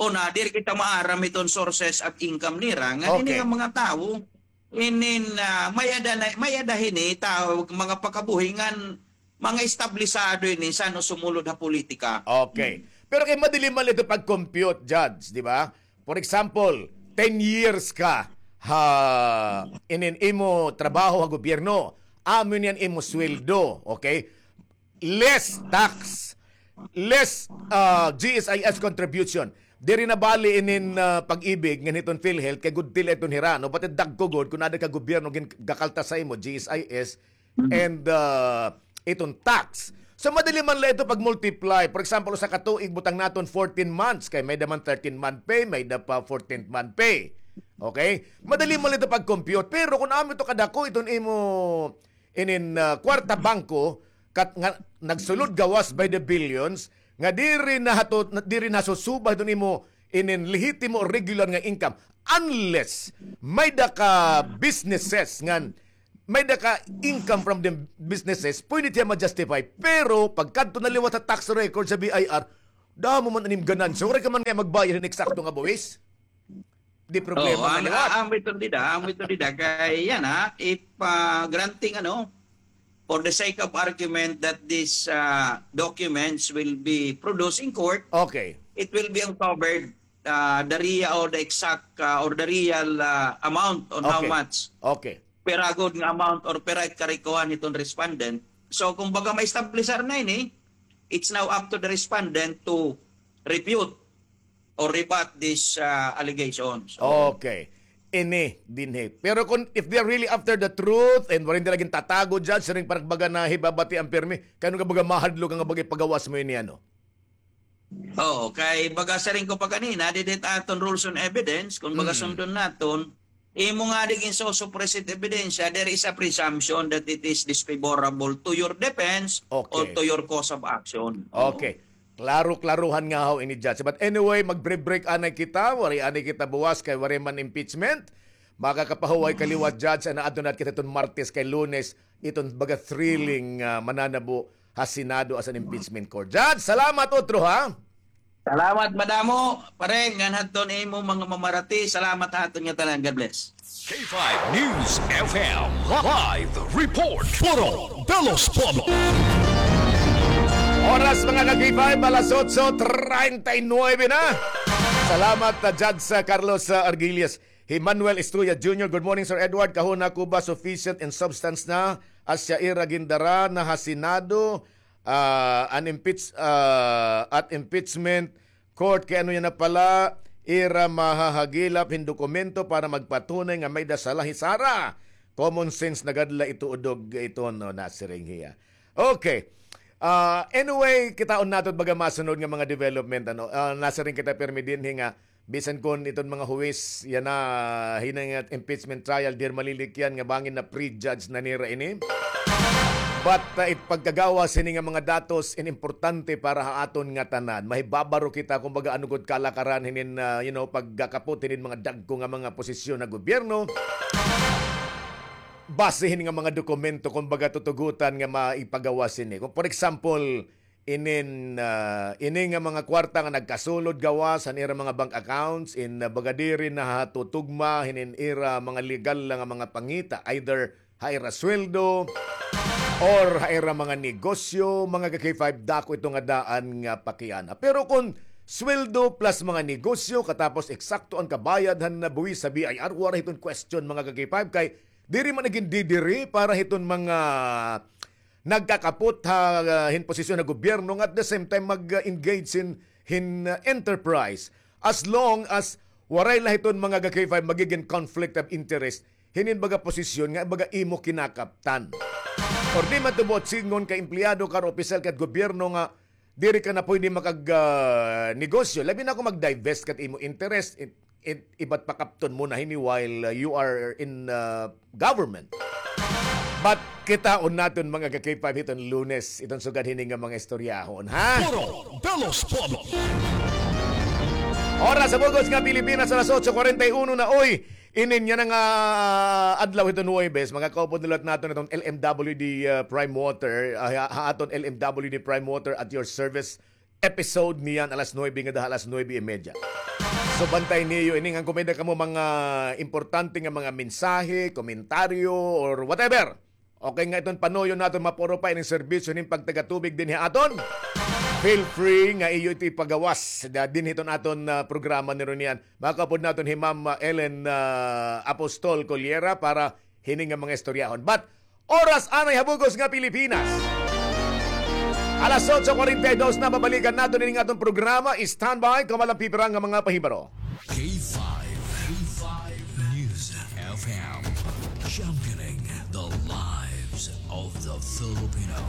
una, diri kita maaram iton sources of income nira, nga ini nga mga tawo, inin, ah, may-ada na, may-ada hini, tawo, mga pakabuhi, ngan mga establisado ini san-o sumulod ha politika. Okay. Pero kay madali man ito pag-compute, Judge, di ba? For example, ten years ka ha inin imo trabaho ha gobyerno, amo niyan imo sweldo, okay? Less tax, less, ah, G S I S contribution. Diri na bali inin, ah, Pag-ibig ngan hiton PhilHealth kay gudti la iton hira, no? Pati dagko gud kun ada ka gobyerno gin-, gakaltas sa imo, G S I S, and, ah, iton tax. So, madali man la ito pag-multiply. For example, usa ka tuig, butang naton fourteen months, kay may-ada man thirteen month pay, may-ada pa fourteenth month pay. Okay? Madali man la ito pag-compute. Pero kun amo ito kadako, iton imo inin, ah, kwarta bangko, kat nga nagsulod gawas by the billions, nga diri nahato-, diri nasusuba hiton imo inin lehitimo or regular nga income. Unless may-ada ka businesses ngan may-ada ka income from the businesses, pwede hiya ma-justify. Pero pagkadto na liwat ha tax record sa B I R, damo man an im ganansya. Waray ka man kay magbayad hin eksakto nga buwis. Di problema na liwat. Amo iton dida, amo iton dida. Kay yana, if, ah, granting, ano, for the sake of argument that these, ah, documents will be produced in court, okay, it will be uncovered, ah, the real or the exact, ah, or the real, ah, amount on how much. Okay. Pira gud nga amount or pira it karikuhan hiton respondent. So, kumbaga, ma-establishar na ini, it's now up to the respondent to refute or rebut these, ah, allegations. Okay. Ini dinhi. Pero kung, if they're really after the truth and waray nira gintatago, Judge, siring parang baga nahibabati an pirmi, kay ano ka baga mahadlok nga baga ipagawas mo ini, ano? Oo, kay baga siring ko pa kanina, didi it aton rules on evidence, kung baga sundon naton, imo nga di ginsusuppress it ebidensya, there is a presumption that it is disfavorable to your defense or to your cause of action. Okay. Klaro-klarohan nga haw ini, Judge. But anyway, mag-break-break anay kita, waray anay kita buwas kay waray man impeachment. Makakapahuway ka liwat, Judge, an adto na kita hiton Martes kay Lunes, iton baga thrilling, ah, mananabo ha Senado as an impeachment court. Judge, salamat utro, ha? Salamat madamo, pare, ngan hadton imo mga mamarati. Salamat ha aton nga tanan. God bless. K five News F M live report. Puro de los Pueblos. Oras, mga ka-K five, alas otso treinta y nueve na. Salamat, ah, Judge, ah, Carlos, ah, Argilias. Hi Manuel Estrella Junior, good morning, Sir Edward. Kahuna ko ba sufficient in substance na asya ira gindara na ha Senado, ah, an impeach-, ah, at impeachment court, kay ano yana pala, ira mahahagilap hin dokumento para magpatunay nga may-ada sala hi Sara. Common sense na gad la ito, udog ito, no, nasiring hiya. Okay. Ah, anyway, kitaon naton baga masunod nga mga development, ano. Ah, nasiring kita pirmi dinhi nga bisan kon iton mga huwis yana, hini nga impeachment trial, diri malilikyan nga bangin na-prejudge na nira ini. But, ah, it pagkagawas hini nga mga datos in importante para ha aton ngatanan. Mahibabaro kita, kumbaga, ano gud kalakaran hinin, ah, you know, pagkakapot hinin mga dagko nga mga posisyon ha gobyerno. Base hini nga mga dokumento, kumbaga, tutugutan nga maipagawas hini. Kung, for example, inin, ah, ini nga mga kwarta nga nagkasulod gawas han ira mga bank accounts, in, ah, baga diri nahatutugma hinin ira mga legal la nga mga pangita, either ha ira sweldo or ha ira mga negosyo, mga ka-K five, dako ito nga daan nga pakiana. Pero kon sweldo plus mga negosyo, katapos eksakto an kabayad han nabuwis sa B I R, waray hiton question, mga ka-K five, kay diri man gindidiri para hiton mga nagkakapot ha, ah, hin posisyon ha gobyerno nga at the same time mag-engage hin, hin, ah, enterprise. As long as waray la hiton mga ka-K five magigin conflict of interest hinin baga posisyon nga baga imo kinakaptan. Or di man tubo sidngon ka empleyado ka or opisyal ka gobyerno nga diri ka na pwede makag, ah, negosyo. Labi na kon mag-divest ka it imo interest, it, it, ibat pakapton mo na hini while, ah, you are in, ah, government. But kitaon naton, mga ka-K five, hiton Lunes, iton sugad hini nga mga istoryahon, ha? Puro de los Pueblos. Oras ha bug-os nga Pilipinas, alas otso cuarenta y uno na, oy. Inin yana nga adlaw hiton Huwebes, mga kaupod, niluwat naton iton L M W D, ah, Prime Water, ah, ha, ha aton L M W D Prime Water at your service episode niyan alas nuebe ngada ha alas nuebe y media. So, bantay niyo ini, ngan kon may-ada kamo mga importante nga mga mensahe, komentaryo, or whatever. Okay nga iton panuyo naton mapuro pa ini serbisyo nin pagtagatubig dinhi ha aton. Feel free nga iyo ito ipagawas da-, dinhi hiton aton, ah, programa ni Ronian. Makaupod naton hi Ma'am, ah, Ellen, ah, Apostol Coliera para hini nga mga istoryahon. But oras anay ha bug-os nga Pilipinas, alas otso cuarenta y dos na, babalikan naton ini nga aton programa. Standby, kamo la an pipira nga mga pahibaro. K five, K five News F M, championing the lives of the Filipino.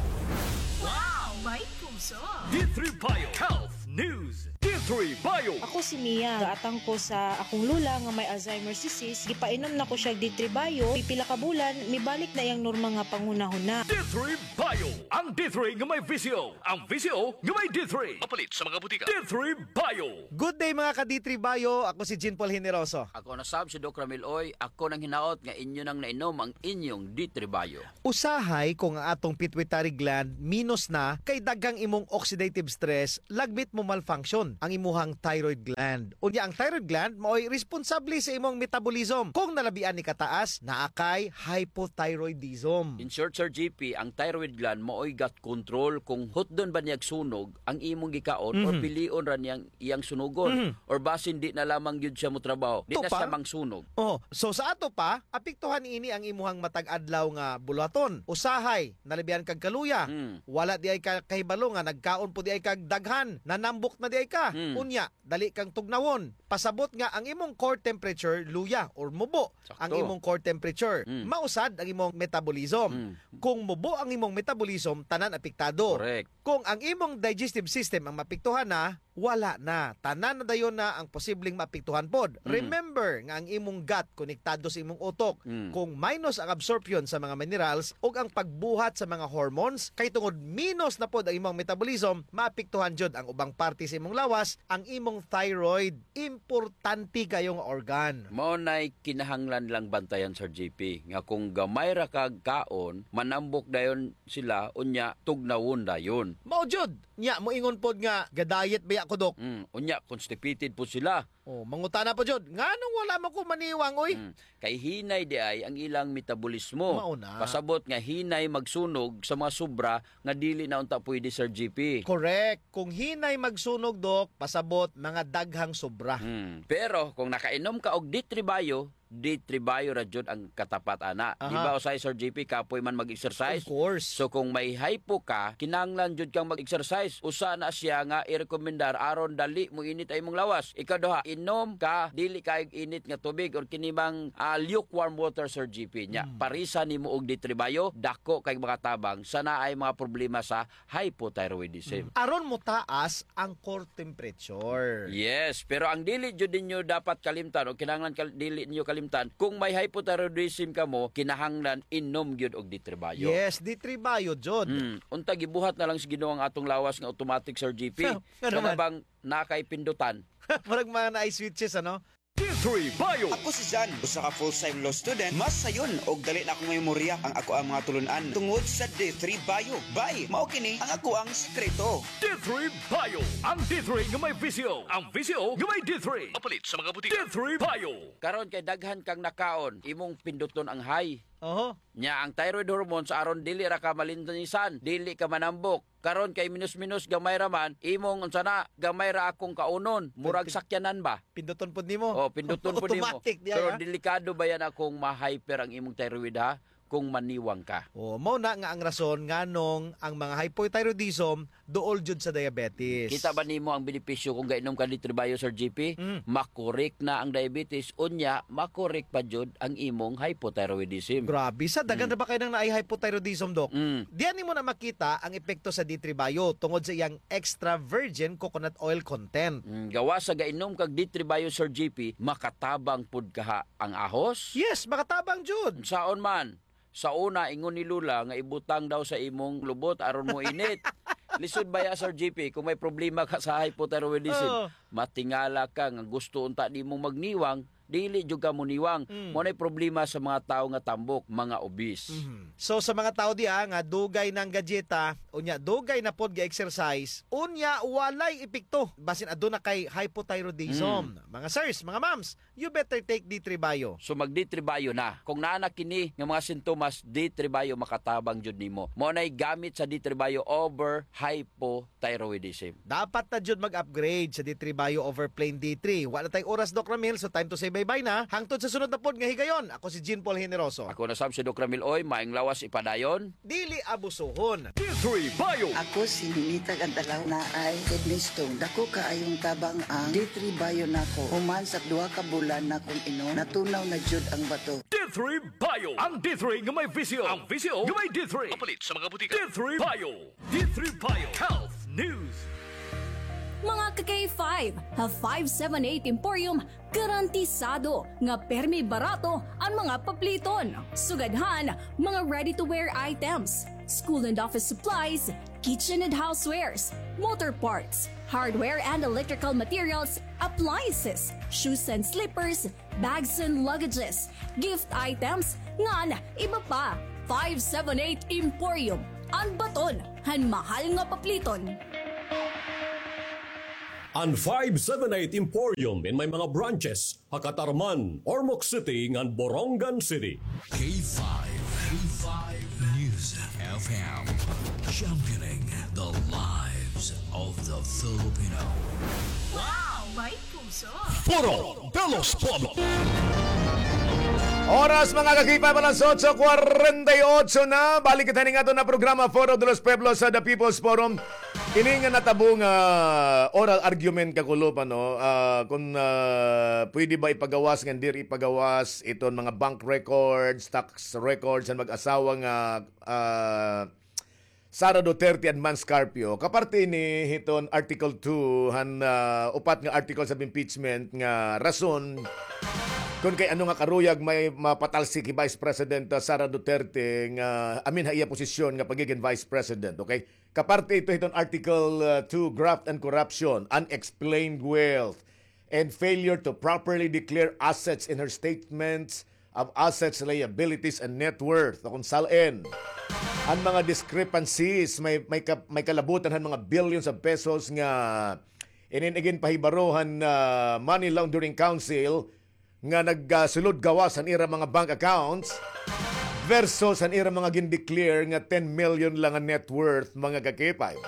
Wow! May puso! D three Bio Health News. D three Bio. Ako si Mia. Gaatang ko sa akong lola nga may Alzheimer's disease. Gipainom na ko siya D three Bio. Pipila ka bulan, mibalik na iyang normal nga panghunahuna. D three Bio. Ang D three nga may V C O. Ang V C O nga may D three. Mapalit sa mga butika. D three Bio. Good day, mga ka-D three Bio. Ako si Jean Paul Generoso. Ako na sab si Doc Ramil Oy. Ako nang hinaot nga inyo nang nainom ang inyong D three Bio. Usahay kung ang atong pituitary gland minus na, kay daghang imong oxidative stress, lagmit mo-malfunction ang imuhang thyroid gland. Unya, ang thyroid gland maoy responsable sa imong metabolism. Kung nalabian ni kataas, naa kay hypothyroidism. In short, Sir G P, ang thyroid gland maoy gut control kung hutdon ba niyag sunog ang imong gikaon or Mhm. pilion ra niyang iyang sunugon Mhm. or basin di na lamang gyud siya motrabaho, di na Tupa? siya mangsunog. Oh, so sa ato pa, apektuhan ini ang imuhang matag adlaw nga buluhaton. Usahay, nalabihan kag kaluya. Mm. Wala di ay ka kahibalo nga nagkaon po di ay kag daghan, nanambok na di ay ka. Mm. Unya, dali kang tugnawon. Pasabot nga ang imong core temperature luya or mubo Sakto. ang imong core temperature. Mm. Mausad ang imong metabolism. Mm. Kung mubo ang imong metabolism, tanan apektado. Correct. Kung ang imong digestive system ang maapektuhan na, wala na. Tanan na dayon na ang posibleng maapektuhan pod. Mm. Remember nga ang imong gut konektado sa imong utok. Mm. Kung minus ang absorption sa mga minerals ug ang pagbuhat sa mga hormones, kay tungod minus na pod ang imong metabolism, maapektuhan jud ang ubang parte sa imong lawas, ang imong thyroid. Importante kayo nga organ. Mao nay kinahanglan lang bantayan, Sir G P, nga kung gamay ra kag kaon, manambok dayon sila, unya tugnawon dayon. Mao jud. Nya, moingon pod nga, "Ga-diet baya ko, Dok." Mm, unya, constipated pod sila. Oh, mangutana pod jud, "Nganong wala man ko maniwang, oy?" Mm, kay hinay di ay ang ilang metabolismo. Mao na. Pasabot nga hinay magsunog sa mga sobra nga dili na unta pwede, Sir G P. Correct. Kung hinay magsunog, Dok, pasabot mga daghang sobra. Mm, pero kung nakainom ka og D three Bio, D three Bio ra jud ang katapat ana. Aha. Di ba, usahay, Sir G P, kapoy man mag-exercise? Of course. So, kung may hypo ka, kinahanglan jud kang mag-exercise. Usa na siya nga irekomendar aron dali moinit ay imong lawas. Ikaduha, inom ka dili kaayog init nga tubig or kini mang, ah, lukewarm water, Sir G P. Nya, Mm. parisa nimo og D three Bio, dako kay makatabang sa naay mga problema sa hypothyroidism. Mm. Aron motaas ang core temperature. Yes, pero ang dili jud ninyo dapat kalimtan o kinahanglan kal-, dili ninyo kalimtan, kung may hypothyroidism kamo, kinahanglan inom gyud og D three Bio. Yes, D three Bio jud. Mm. Unta gibuhat na lang sa Ginoo ang atong lawas nga automatic, Sir G P. Nga naman. Kana bang naa kay pindutan? Murag mga naay switches, ano? D three Bio. Ako si Jan, usa ka full-time law student. Mas sayon og dali na akong memorya ang akoang mga tulun-an tungod sa D three Bio. Bay, mao kini ang akoang sekreto. D three Bio, ang D three nga may V C O, ang V C O nga may D three. Mapalit sa mga butika. D three Bio. Karon kay daghan kang nakaon, imong pinduton ang high. Oho. Nya ang thyroid hormones aron dili ra ka malinisan, dili ka manambok. Karon kay minus-minus, gamay ra man, imong unsa na, gamay ra akong kaunon, murag Pin-, pin-, sakyanan ba? Pinduton pod nimo. Oh, pinduton pod nimo. Automatic diay, Pero ha? Delikado ba yana kung ma-hyper ang imong thyroid, ha? Kung maniwang ka. Oh, mao na nga ang rason nganong ang mga hypothyroidism duol jud sa diabetes. Kita ba nimo ang benepisyo kung gainom ka D three Bio, Sir G P? Mm. Makorek na ang diabetes, unya makorek pa jud ang imong hypothyroidism. Grabe, sa daghan Mm. ra ba kay nang naay hypothyroidism, Doc? Mm. Diyan nimo na makita ang epekto sa D three Bio tungod sa iyang extra virgin coconut oil content. Mm, gawas sa gainom kag D three Bio, Sir G P, makatabang pud kaha ang ahos? Yes, makatabang jud. Unsaon man? Sa una, ingon ni Lola nga ibutang daw sa imong lubot aron moinit. Lisod baya, Sir G P, kung may problema ka sa hypothyroidism, Oo. matingala ka nga gusto unta nimong magniwang, dili jud ka moniwang. Mm. Mao nay problema sa mga tawo nga tambok, mga obese. Mhm. So, sa mga tawo diha nga dugay nang gadyeta, unya dugay na pod ga-exercise, unya walay epekto, basin aduna kay hypothyroidism. Mm. Mga sirs, mga ma'ams, you better take D three Bio. So, mag D three Bio na. Kung naa na kini nga mga sintomas, D three Bio makatabang jud nimo. Mao nay gamit sa D three Bio over hypo thyroidism. Dapat na jud mag-upgrade sa D three Bio over plain D three. Wa na tay oras, Doc Ramil, so time to say bye-bye na. Hangtod sa sunod na pod nga higayon, ako si Jean Paul Generoso. Ako na sab si Doc Ramil Oy, maayong lawas ipadayon. Dili abusohon. D three Bio. Ako si Ninita Gantalaw, naay kidney stone. Dako kaayong tabang ang D three Bio nako. Human sa duha ka bulan nakong inom, natunaw na jud ang bato. D three Bio. Ang D three nga may V C O. Ang V C O nga may D three. Mapalit sa mga butika. D three Bio. D three Bio Health News. Mga ka-K five, ha five seven eight Emporium, garantisado nga permi barato an mga papliton. Sugad han mga ready-to-wear items, school and office supplies, kitchen and housewares, motor parts, hardware and electrical materials, appliances, shoes and slippers, bags and luggages, gift items, ngan iba pa. Five seven eight Emporium, an baton han mahal nga papliton. An five seven eight Emporium in may mga branches ha Catarman, Ormoc City, ngan Borongan City. K five, K five News F M, championing the lives of the Filipino. Wow! May puso! Foro de los Pueblos. Oras, mga ka-K five, alas otso kwarenta y otso na. Balik kita ning aton nga programa, Foro de los Pueblos, sa The People's Forum. Ini nga natabo nga oral argument, kakulop, ano, ah, kung, ah, pwede ba ipagawas ngan diri ipagawas iton mga bank records, tax records han mag-asawa nga, ah, Sara Duterte and Mans Carpio. Kaparte ini hiton Article two han, ah, upat nga articles of impeachment nga rason kon kay ano nga karuyag may mapatalsik hi Vice President, ah, Sara Duterte nga amin ha iya posisyon nga pagigin Vice President, okay? Kaparte ito hiton Article, uh, two, graft and corruption, unexplained wealth, and failure to properly declare assets in her statements of assets, liabilities, and net worth. O kung sal-in, an mga discrepancies, may, may, ka, may kalabutan han mga billions of pesos nga inin iginpahibaro han, uh, Money Laundering Council, nga nagsulod gawas han ira mga bank accounts versus han ira mga gin-declare nga ten million lang an net worth, mga ka-K five.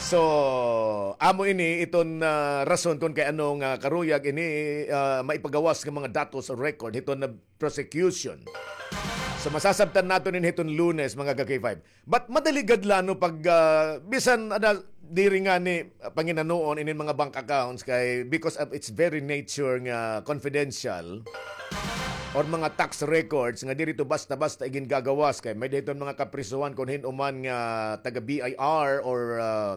So, amo ini iton, ah, rason kon kay ano nga karuyag ini, ah, maipagawas nga mga datos o record hiton nga prosecution. So, masasabtan naton ini hiton Lunes, mga ka-K five. But madali gad la, no, pag, ah, bisan ada diri ngani, ah, panginanoon inin mga bank accounts kay because of its very nature nga confidential or mga tax records nga diri to basta-basta igingagawas kay may-ada hiton mga kaprisohan kon hin-o man nga taga B I R or, ah,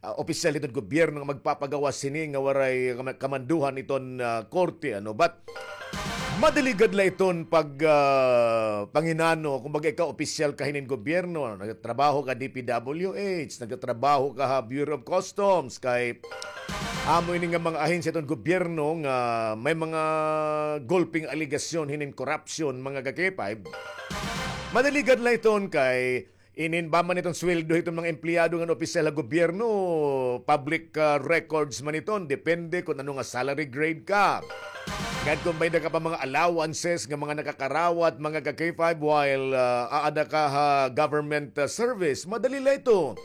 ah, opisyal hiton gobyerno nga magpapagawas hini nga waray kama-, kamanduhan hiton, ah, korte, ano. But madali gad la iton pag, ah, panginano, kumbaga ikaw opisyal ka hinin gobyerno, nagtatrabaho ka D P W H, nagtatrabaho ka ha Bureau of Customs, kay amo ini nga mga ahensya hiton gobyerno nga may mga gulping alegasyon hinin korupsyon, mga ka-K five. Madali gad la iton kay inin ba man iton sweldo hiton mga empleyado ngan opisyal ha gobyerno, public, ah, records man iton, depende kon ano nga salary grade ka. Ngan kon may-ada ka pa mga allowances nga mga nakakarawat, mga ka-K five, while, ah, aada ka ha government, ah, service, madali la ito.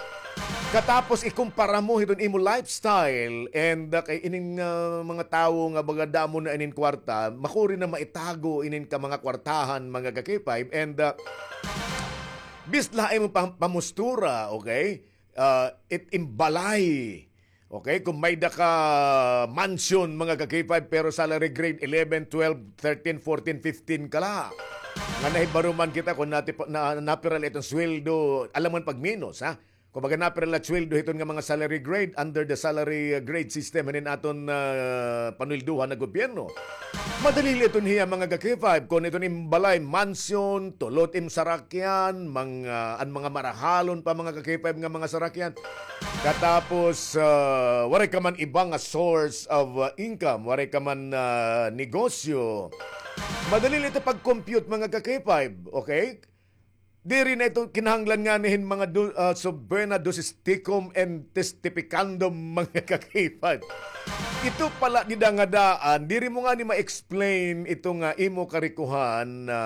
Katapos ikumpara mo hiton imo lifestyle and, ah, kay ining, ah, mga tawo nga baga damo na inin kwarta, makuri na maitago inin ka mga kwartahan, mga ka-K five, and, ah, bis la ha imo pam-, pamustura, okay? Ah, it imbalay. Okay, kung may-ada ka mansion, mga ka-K five, pero salary grade eleven, twelve, thirteen, fourteen, fifteen ka la. Nga nahibaro man kita kung nati-, na, napira la iton sweldo, alangan pagminos, ha? Kumbaga, napira la sweldo hiton nga mga salary grade under the salary, uh, grade system hinin aton, uh, panweldohan nga gobyerno. Madali la iton hiya, mga ka-K five, kon iton im balay, mansion, tulo it im sarakyan, mga, an mga marahalon pa, mga ka-K five, nga mga sarakyan. Katapos, uh, waray ka man iba nga source of, uh, income, waray ka man, uh, negosyo. Madali la ito pag-compute, mga ka-K five, okay? Diri na ito kinahanglan ngani hin mga du-, ah, subpoena, dosis tecum and testificandum, mga ka-K five. Ito pala dida nga daan, diri mo ngani ma-explain ito nga imo karikohan na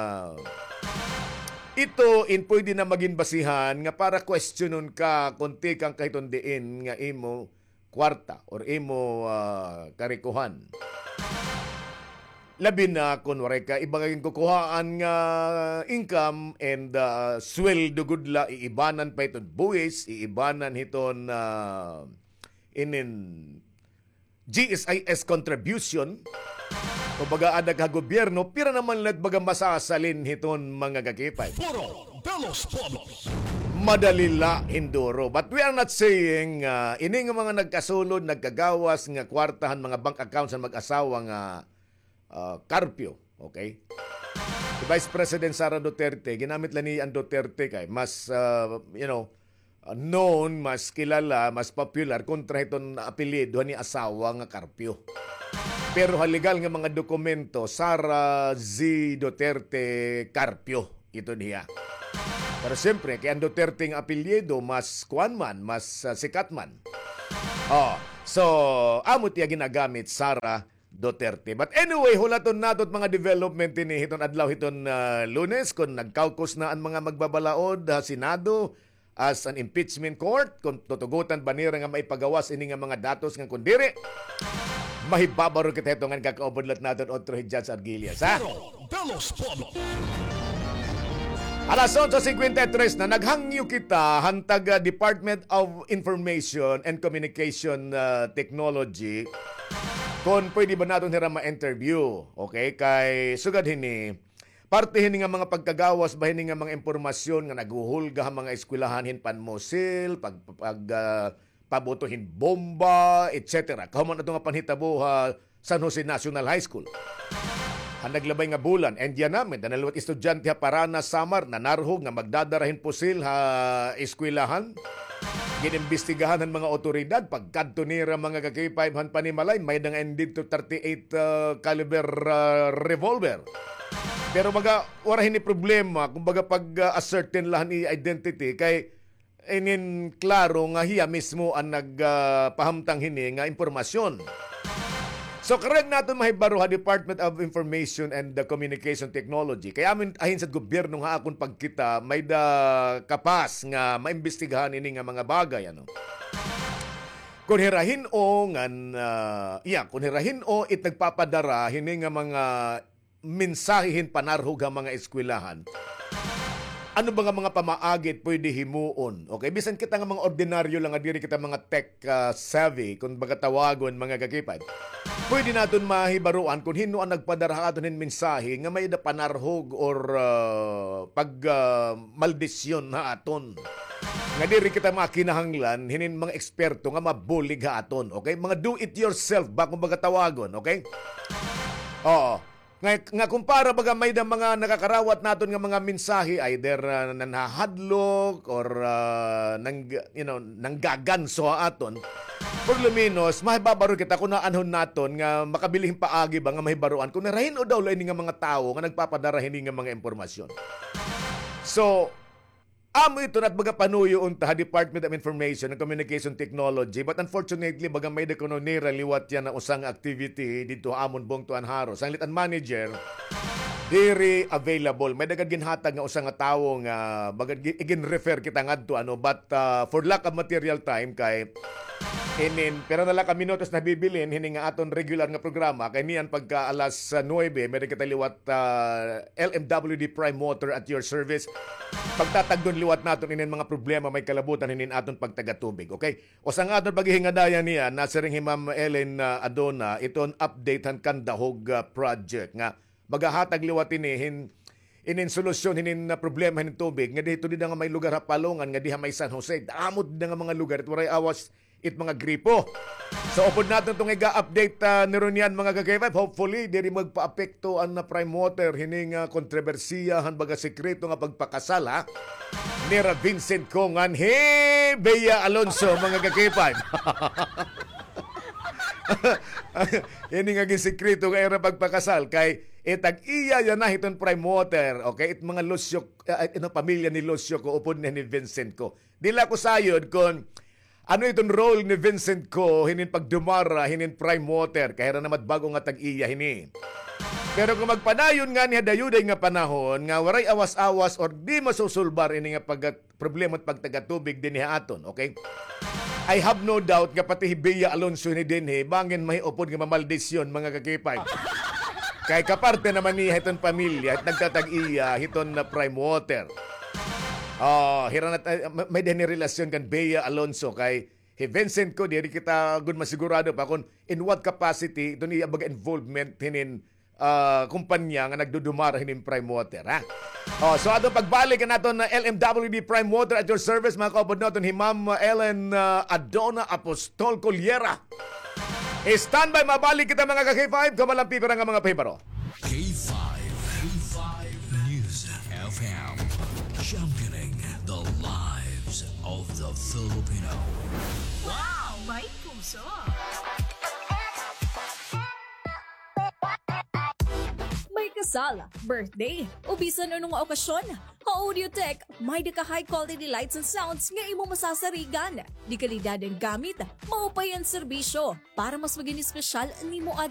ito in pwede na magin basihan nga para kwestiyonon ka kon tikang ka hiton diin nga imo kwarta or imo, ah, karikohan. Labi na kon waray ka iba nga ginkukuhaan nga income and, ah, sweldo gud la, iibanan pa hiton buwis, iibanan hiton, ah, inin G S I S contribution. Kumbaga, aada ka ha gobyerno, pira naman la it baga masasalin hiton mga ka-K five? Foro de los Pueblos. Madali la hin duro. But we are not saying, ah, ini nga mga nagkasulod, nagkagawas nga kwarta han mga bank accounts han mag-asawa nga, ah, karpyo, okay? Si Vice President Sara Duterte, ginamit la niya an Duterte kay mas, ah, you know, ah, known, mas kilala, mas popular kontra hiton apelyido han iya asawa nga Carpio. Pero ha legal nga mga dokumento, Sara Z Duterte Carpio ito niya. Pero siyempre, kay an Duterte nga apelyido, mas kuan man, mas, ah, sikat man. Oh, so, amo tiya ginagamit, Sara Duterte. But anyway, hulaton nato it mga development ini hiton adlaw hiton, ah, Lunes, kon nag-caucus na an mga magbabalaod ha Senado as an impeachment court, kon tutugotan ba nira nga maipagawas ini nga mga datos ngan kon diri, mahibabaro kita hito ngan kakaupod lat naton otro hi Judge Arguillas, ha? Faro de los Pueblos. Alas onse cincuenta y tres na, naghangyo kita han taga Department of Information and Communication, ah, Technology kon pwede ba naton hira ma-interview. Okay? Kay sugad hini, parte hini nga mga pagkagawas ba hini nga mga impormasyon nga naghuhulga ha mga eskwelahan hin panmusil, pag, pag, ah, pabuto hin bomba, et cetera. Kahuman ato nga panhitabo ha San Jose National High School. Han naglabay nga bulan, and yana, may-ada na liwat estudyante ha Paranas, Samar, nanarhog nga magdadara hin pusil ha eskwelahan. Ginimbestigahan han mga awtoridad, pagkadto nira mga ka-K five han panimalay, may-ada nga indidto thirty-eight, ah, caliber, ah, revolver. Pero baga, wara hini problema, kumbaga pag, ah, ascertain la han iya identity, kay inin klaro nga hiya mismo an nag, ah, pahamtang hini nga impormasyon. So, karuyag naton mahibaro ha Department of Information and the Communication Technology. Kay amin, ahin sad gobyerno nga akon pagkita, may-ada kapas nga maimbestigahan ini nga mga bagay, ano. Kon hira hin-o ngan, ah, iya, kon hira hin-o it nagpapadara hini nga mga mensahe hin panarhog ha mga eskwelahan. Ano ba nga mga pamaagi it pwede himuon? Okay, bisan kita nga mga ordinaryo lang nga diri kita mga tech, ah, savvy, kon baga tawagon, mga ka-K five, pwede naton mahibaroan kon hin-o an nagpadara ha aton hin mensahe nga may-ada panarhog or, ah, pag, ah, maldisyon ha aton. Nga diri kita makinahanglan hinin mga eksperto nga mabulig ha aton, okay? Mga do it yourself ba, kon baga tawagon, okay? Oo. Nga, nga kumpara baga may-ada mga nakakarawat naton nga mga mensahe, either, ah, nanhahadlok or, ah, nang, you know, nanggaganso ha aton. Por lo menos, mahibabaro kita kon aanhon naton nga makabiling paagi ba nga mahibaroan kon hira hin-o daw la ini nga mga tawo nga nagpapadara hini nga mga impormasyon. So, amo ito na it baga panuyo unta ha Department of Information and Communication Technology, but unfortunately, baga may-ada kuno nira liwat yana usa nga activity didto ha amon bungto han Jaro. Sanglit an manager, diri available. May-ada gad ginhatag nga usa nga tawo nga baga gi-, igin-refer kita ngadto, ano, but, ah, for lack of material time, kay inin, pira na la ka minutos nabibilin hini nga aton regular nga programa, kay niyan pagka alas, ah, nuebe, may-ada kita liwat, ah, L M W D Prime Water at your service. Pagtatagdon liwat naton inin mga problema may kalabutan hinin aton pagtagatubig, okay? Usa nga aton paghihingadayan niyan, nasiring hi Ma'am Ellen, ah, Adona, iton update han Candahog, ah, project nga maghahatag liwat ini hin, inin solusyon hinin, ah, problema hinin tubig nga didto dida nga may lugar ha Palongan nga diha may San Jose. Damo dida nga mga lugar it waray awas it mga gripo. So, upod naton iton iga-update, ah, niruniyan, mga ka-K five. Hopefully, diri magpaapekto an, ah, Prime Water hini nga kontrobersiya han baga sekreto nga pagpakasal, ha, nira Vincent Co ngan hi Bea Alonso, mga ka-K five. Ini nga ginsekreto nga ira pagpakasal kay itag-iya yana hiton Prime Water, okay? It mga Lucio, ah, ino, pamilya ni Lucio Co upod ni, ni Vincent Co. Diri la ako sayod kon ano iton role ni Vincent Co hinin pagdumara hinin Prime Water, kay hira naman it bag-o nga tag-iya hini. Pero kon magpadayon ngani ha dayuday nga panahon nga waray awas-awas or di masusulbar ini nga pag-, problema it pagtagatubig dinhi ha aton, okay? I have no doubt nga pati hi Bea Alonso hini dinhi, bangin mahiupod nga mamaldisyon, mga ka-K five. Kay kaparte naman niya hiton pamilya, it nagtatag-iya hiton, ah, Prime Water. Oh, hira na, ah, may, may-ada hini relasyon kan Bea Alonso kay hi Vincent Co, diri kita gud masigurado pa kon in what capacity iton iya baga involvement hinin, ah, kumpanya nga nagdudumara hinin Prime Water, ha? Oh, so aton pagbalik an aton, uh, L M W D Prime Water at your service, mga kaupod naton, hi Ma'am, uh, Ellen, uh, Adona Apostol Colliera. Standby, mabalik kita, mga ka-K five, kamalampi para nga mga pahibaro. K five, K five News F M, championing the lives of the Filipino. Wow! May puso! May kasal, birthday, o bisan ano nga okasyon, ha Audiotech, may-ada ka high quality lights and sounds nga imo masasarigan. De kalidad an gamit, maupay an serbisyo. Para mas magin espesyal an imo adlaw.